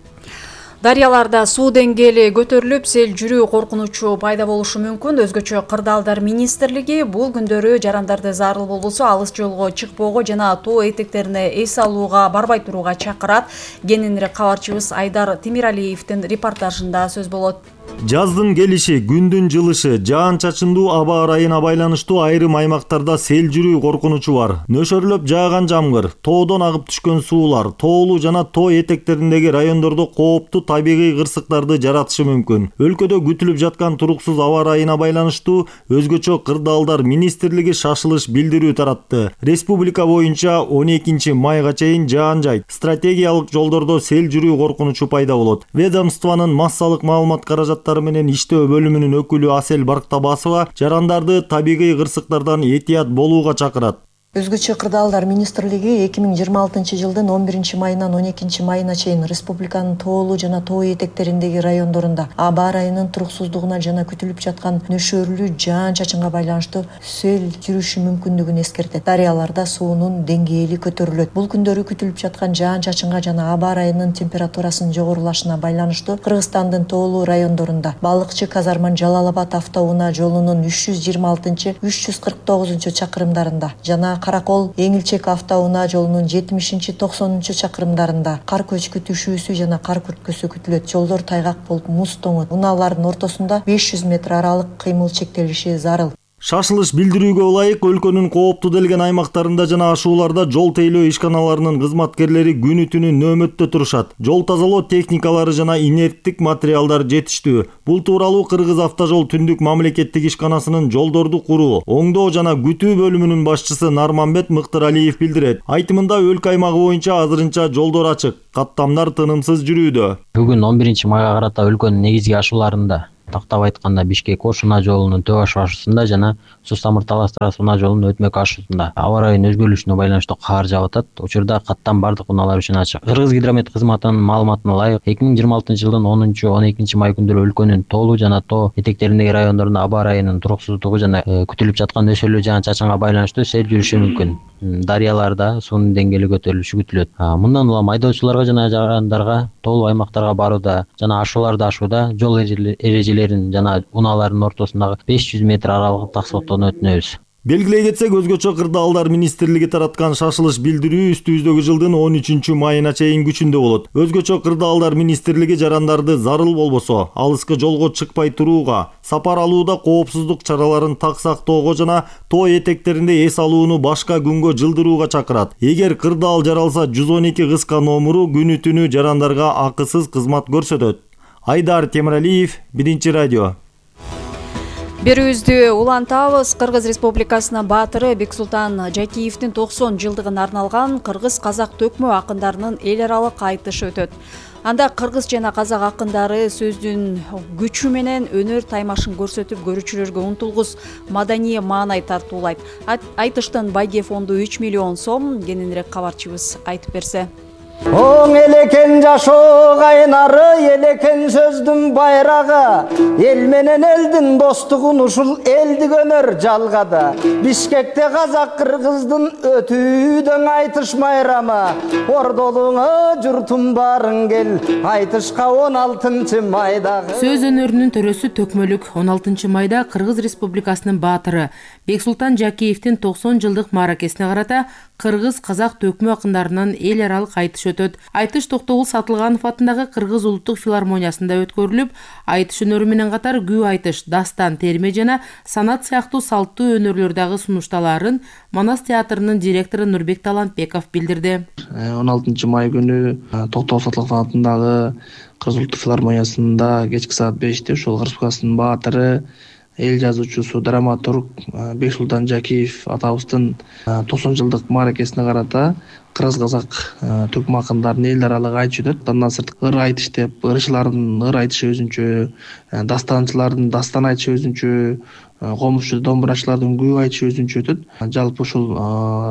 S11: Дарыяларда суу деңгээли көтөрүлүп, сел жүрүү коркунучу пайда болушу мүмкүн. Өзгөчө Кырдаалдар министрлиги бул күндөрү жарандарды зарыл болбосо алыс жолго чыкпоого жана тоо этектерине эс алууга барбай турууга чакырат. Кененирээк кабарчыбыз Айдар Темиралиевдин репортажында сөз болот.
S6: Жаздын келиши, күндүн жылышы, жаан-чачындуу аба ырайына байланыштуу айрым аймактарда сел жүрүү коркунучу бар. Нөшөрлөп жааган жамгыр, тоодон агып түшкөн суулар, тоолуу жана тоо этектериндеги райондордо кооптуу табигый кырсыктарды жаратышы мүмкүн. Өлкөдө күтүлүп жаткан туруксуз аба ырайына байланыштуу өзгөчө Кырдаалдар министрлиги шашылыш билдирүү таратты. Республика боюнча он экинчи майга чейин жаан жайт, стратегиялык жолдордо сел жүрүү коркунучу пайда болот. Ведомствонун массалык маалымат каражат менен иштөө бөлүмүнүн өкүлү Асель Барктабасова жарандарды табигый кырсыктардан этият болууга чакырат.
S21: Өзгөчө Кырдаалдар министрлиги эки миң жыйырма алтынчы жылдын он биринчи майынан он экинчи майына чейин республиканын тоолуу жана тоо этектериндеги райондорунда аба ырайынын туруксуздугуна жана күтүлүп жаткан нөшөрлүү жаан-чачынга байланыштуу сел жүрүшү мүмкүндүгүн эскертет. Дарыяларда суунун деңгээли көтөрүлөт. Бул күндөрү күтүлүп жаткан жаан-чачынга жана аба ырайынын температурасынын жогорулашына байланыштуу Кыргызстандын тоолуу райондорунда Балыкчы Казарман Жалал-Абад автоунаа жолунун үч жүз жыйырма алтынчы үч жүз кырк тогузунчу чакырымдарында жана Каракол Эңилчек автоунаа жолунун жетимишинчи токсонунчу чакырымдарында кар көчкү түшүүсү жана кар күрткөсү күтүлөт. Жолдор тайгак болуп муз тоңот. Унаалардын ортосунда беш жүз метр аралык кыймыл чектелиши зарыл.
S6: Шашылыш билдирүүгө ылайык өлкөнүн кооптуу делген аймактарында жана ашууларда жол тейлөө ишканаларынын кызматкерлери күнү түнү нөөмөттө турушат. Жол тазалоо техникалары жана инерттик материалдар жетиштүү. Бул тууралуу Кыргыз Автожол Түндүк мамлекеттик ишканасынын жолдорду куруу, оңдоо жана күтүү бөлүмүнүн башчысы Нарманбет Мыктыралиев билдирет. Айтымында өлкө аймагы боюнча азырынча жолдор ачык, каттамдар тынымсыз жүрүүдө.
S22: Бүгүн он биринчи майга карата өлкөнүн негизги ашууларында, тактап айтканда Бишкек Ош унаа жолунун Төө Ош ашуусунда жана Сустамыр Талас унаа жолунун Өтмөк ашуусунда аба ырайынын өзгөрүлүшүнө байланыштуу кар жаап атат. Учурда каттам бардык унаалар үчүн ачык. Кыргыз Гидромет кызматынын маалыматына ылайык эки миң жыйырма алтынчы жылдын онунчу он экинчи май күндөрү өлкөнүн тоолуу жана тоо этектериндеги райондорунда аба ырайынын туруксуздугу жана күтүлүп жаткан нөшөрлүү жаан-чачынга байланыштуу сел жүрүшү мүмкүн. Дарыяларда суунун деңгээли көтөрүлүшү күтүлөт. Мындан улам айдоочуларга жана жарандарга тоолуу аймактарга барууда жана ашууларды ашууда жол эрежелерин жана унаалардын ортосундагы беш жүз метр аралыгын сактоону өтүнөбүз.
S6: Белгилей кетсек, өзгөчө Кырдаалдар министрлиги тараткан шашылыш билдирүү үстүбүздөгү жылдын он үчүнчү майына чейин күчүндө болот. Өзгөчө Кырдаалдар министрлиги жарандарды зарыл болбосо, алыска жолго чыкпай турууга, сапар алууда коопсуздук чараларын так сактоого жана тоо этектеринде эс алууну башка күнгө жылдырууга чакырат. Эгер Кырдаал жаралса, жүз он эки кыска номуру күнү түнү жарандарга акысыз кызмат көрсөтөт. Айдар Темиралиев, Биринчи радио.
S11: Берүүбүздү улантабыз. Кыргыз Республикасынын баатыры Бексултан Жакиевдин токсон жылдыгына арналган кыргыз казак төкмө акындарынын эл аралык айтышы өтөт. Анда кыргыз жана казак акындары сөздүн күчү менен өнөр таймашын көрсөтүп, көрүүчүлөргө унтулгус маданий маанай тартуулайт. Айтыштын байге фонду үч миллион сом. Кененирээк кабарчыбыз айтып берсе.
S23: Оң элекен жашоо кайнары, элекен сөздүн байрагы, эл менен элдин достугун ушул элдик өнөр жалгады. Бишкекте казак кыргыздын өтүүдөн айтыш майрамы, ордолуңа журтум барың кел, айтышка он алтынчы майдагы.
S25: Сөз өнөрүнүн төрөсү төкмөлүк он алтынчы майда Кыргыз Республикасынын баатыры Бексултан Жакиевдин токсон жылдык мааракесине карата кыргыз казак төкмө акындарынын эл аралык айтыш өтөт. Айтыш Токтогул Сатылганов атындагы Кыргыз улуттук филармониясында өткөрүлүп, айтыш өнөрү менен катар күү айтыш, дастан, терме жана санат сыяктуу салттуу өнөрлөр дагы сунушталаарын Манас театрынын директору Нурбек Талантбеков билдирди.
S27: он алтынчы май күнү Токтогул Сатылганов атындагы
S2: Кыргыз улуттук филармониясында кечки саат беште ушул Кыргыз Республикасынын баатыры, эл жазуучусу, драматург Бексултан Жакиев атабыздын токсон жылдык мааракесине карата кыргыз казак түркмөн акындарынын эл аралык айтышы өтөт. Андан сырт ыр айтыш деп, ырчылардын ыр айтышы өзүнчө, дастанчылардын дастан айтышы өзүнчө, комузчу домбурачылардын күү айтышы өзүнчө өтөт. Жалпы ушул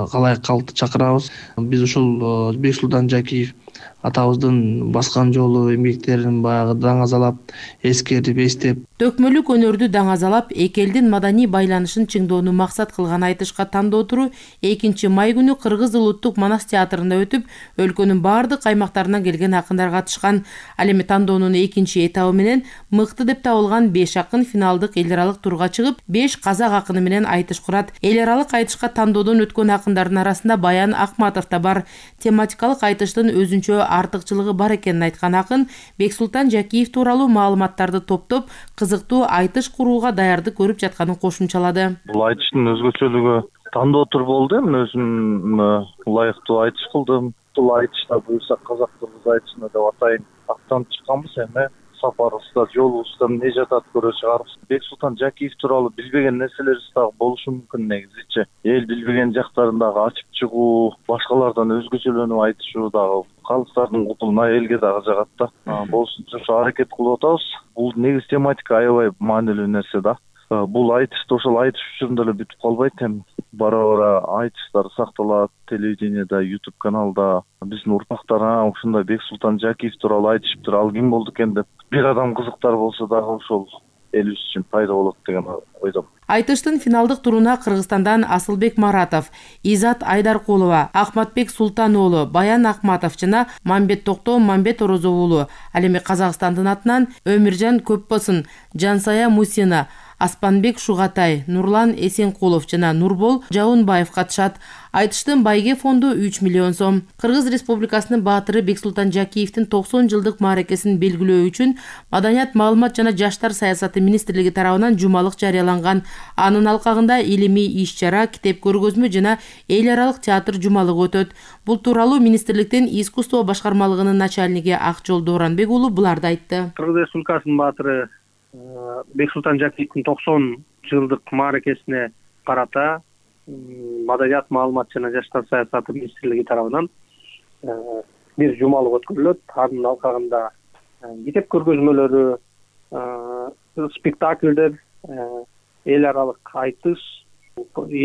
S2: калайык калкты чакырабыз. Биз ушул Бексултан Жакиев атабыздын баскан жолу эмгектерин баягы даңазалап, эскерип, эстеп,
S25: төкмөлүк өнөрдү даңазалап, эки элдин маданий байланышын чыңдоону максат кылган айтышка тандоо туру экинчи май күнү Кыргыз улуттук манас театрында өтүп, өлкөнүн бардык аймактарынан келген акындар катышкан. Ал эми тандоонун экинчи этабы менен мыкты деп табылган беш акын финалдык эл аралык турга чыгып, беш казак акыны менен айтыш курат. Эл аралык айтышка тандоодон өткөн акындардын арасында Баян Акматов да бар. Тематикалык айтыштын өзүнчө артыкчылыгы бар экенин айткан акын Бексултан Жакиев тууралуу маалыматтарды топтоп, кызыктуу айтыш курууга даярдык көрүп жатканын кошумчалады.
S3: Бул айтыштын өзгөчөлүгү тандоо тур болду. Мен өзүм ылайыктуу айтыш кылдым. Бул айтышта буюрса казак кыргыз айтышына деп атайын аттанып чыкканбыз. Эми сапарыбызда, жолубузда эмне жатат көрө чыгарбыз. Бексултан Жакиев тууралуу билбеген нерселерибиз дагы болушу мүмкүн негизичи. Эл билбеген жактарын дагы ачып чыгуу, башкалардан өзгөчөлөнүп айтышуу дагы калктардын кутуна элге дагы жагат да. Болсунча ошо аракет кылып атабыз. Бул негизи тематика аябай маанилүү нерсе да. Бул айтышты ошол айтыш учурунда эле бүтүп калбайт. Эми бара-бара айтыштар сакталат, телевидениеде, YouTube каналда. Биздин урпактар ушундай Бексултан Жакиев тууралуу айтышыптыр. Ал ким болду экен деп бир адам кызыктар болсо дагы ошол элибиз үчүн пайда болот деген ойдомун.
S25: Айтыштын финалдык туруна Кыргызстандан Асылбек Маратов, Изат Айдаркулова, Ахматбек Султан уулу, Баян Акматов жана Мамбет Токтоо Мамбет Орозов уулу, ал эми Казакстандын атынан Өмүржан Көпбосын, Жансая Мусина, Аспанбек Шугатай, Нурлан Эсенкулов жана Нурбол Жаунбаев катышат. Айтыштын байге фонду үч миллион сом. Кыргыз Республикасынын баатыры Бексултан Жакиевдин токсон жылдык мааракесин белгилөө үчүн Маданият, маалымат жана жаштар саясаты министрлиги тарабынан жумалык жарыяланган. Анын алкагында илимий иш-чара, китеп көргөзмө жана эл аралык театр жумалыгы өтөт. Бул тууралуу министрликтин искусство башкармалыгынын начальниги Акжол Дооранбек уулу буларды айтты.
S9: Кыргыз Республикасынын баатыры Бексултан Жакиевдин токсон жылдык мааракесине карата Маданият, маалымат жана жаштар саясаты министрлиги тарабынан бир жумалык өткөрүлөт. Анын алкагында китеп көргөзмөлөрү, спектакльдер, эл аралык айтыш,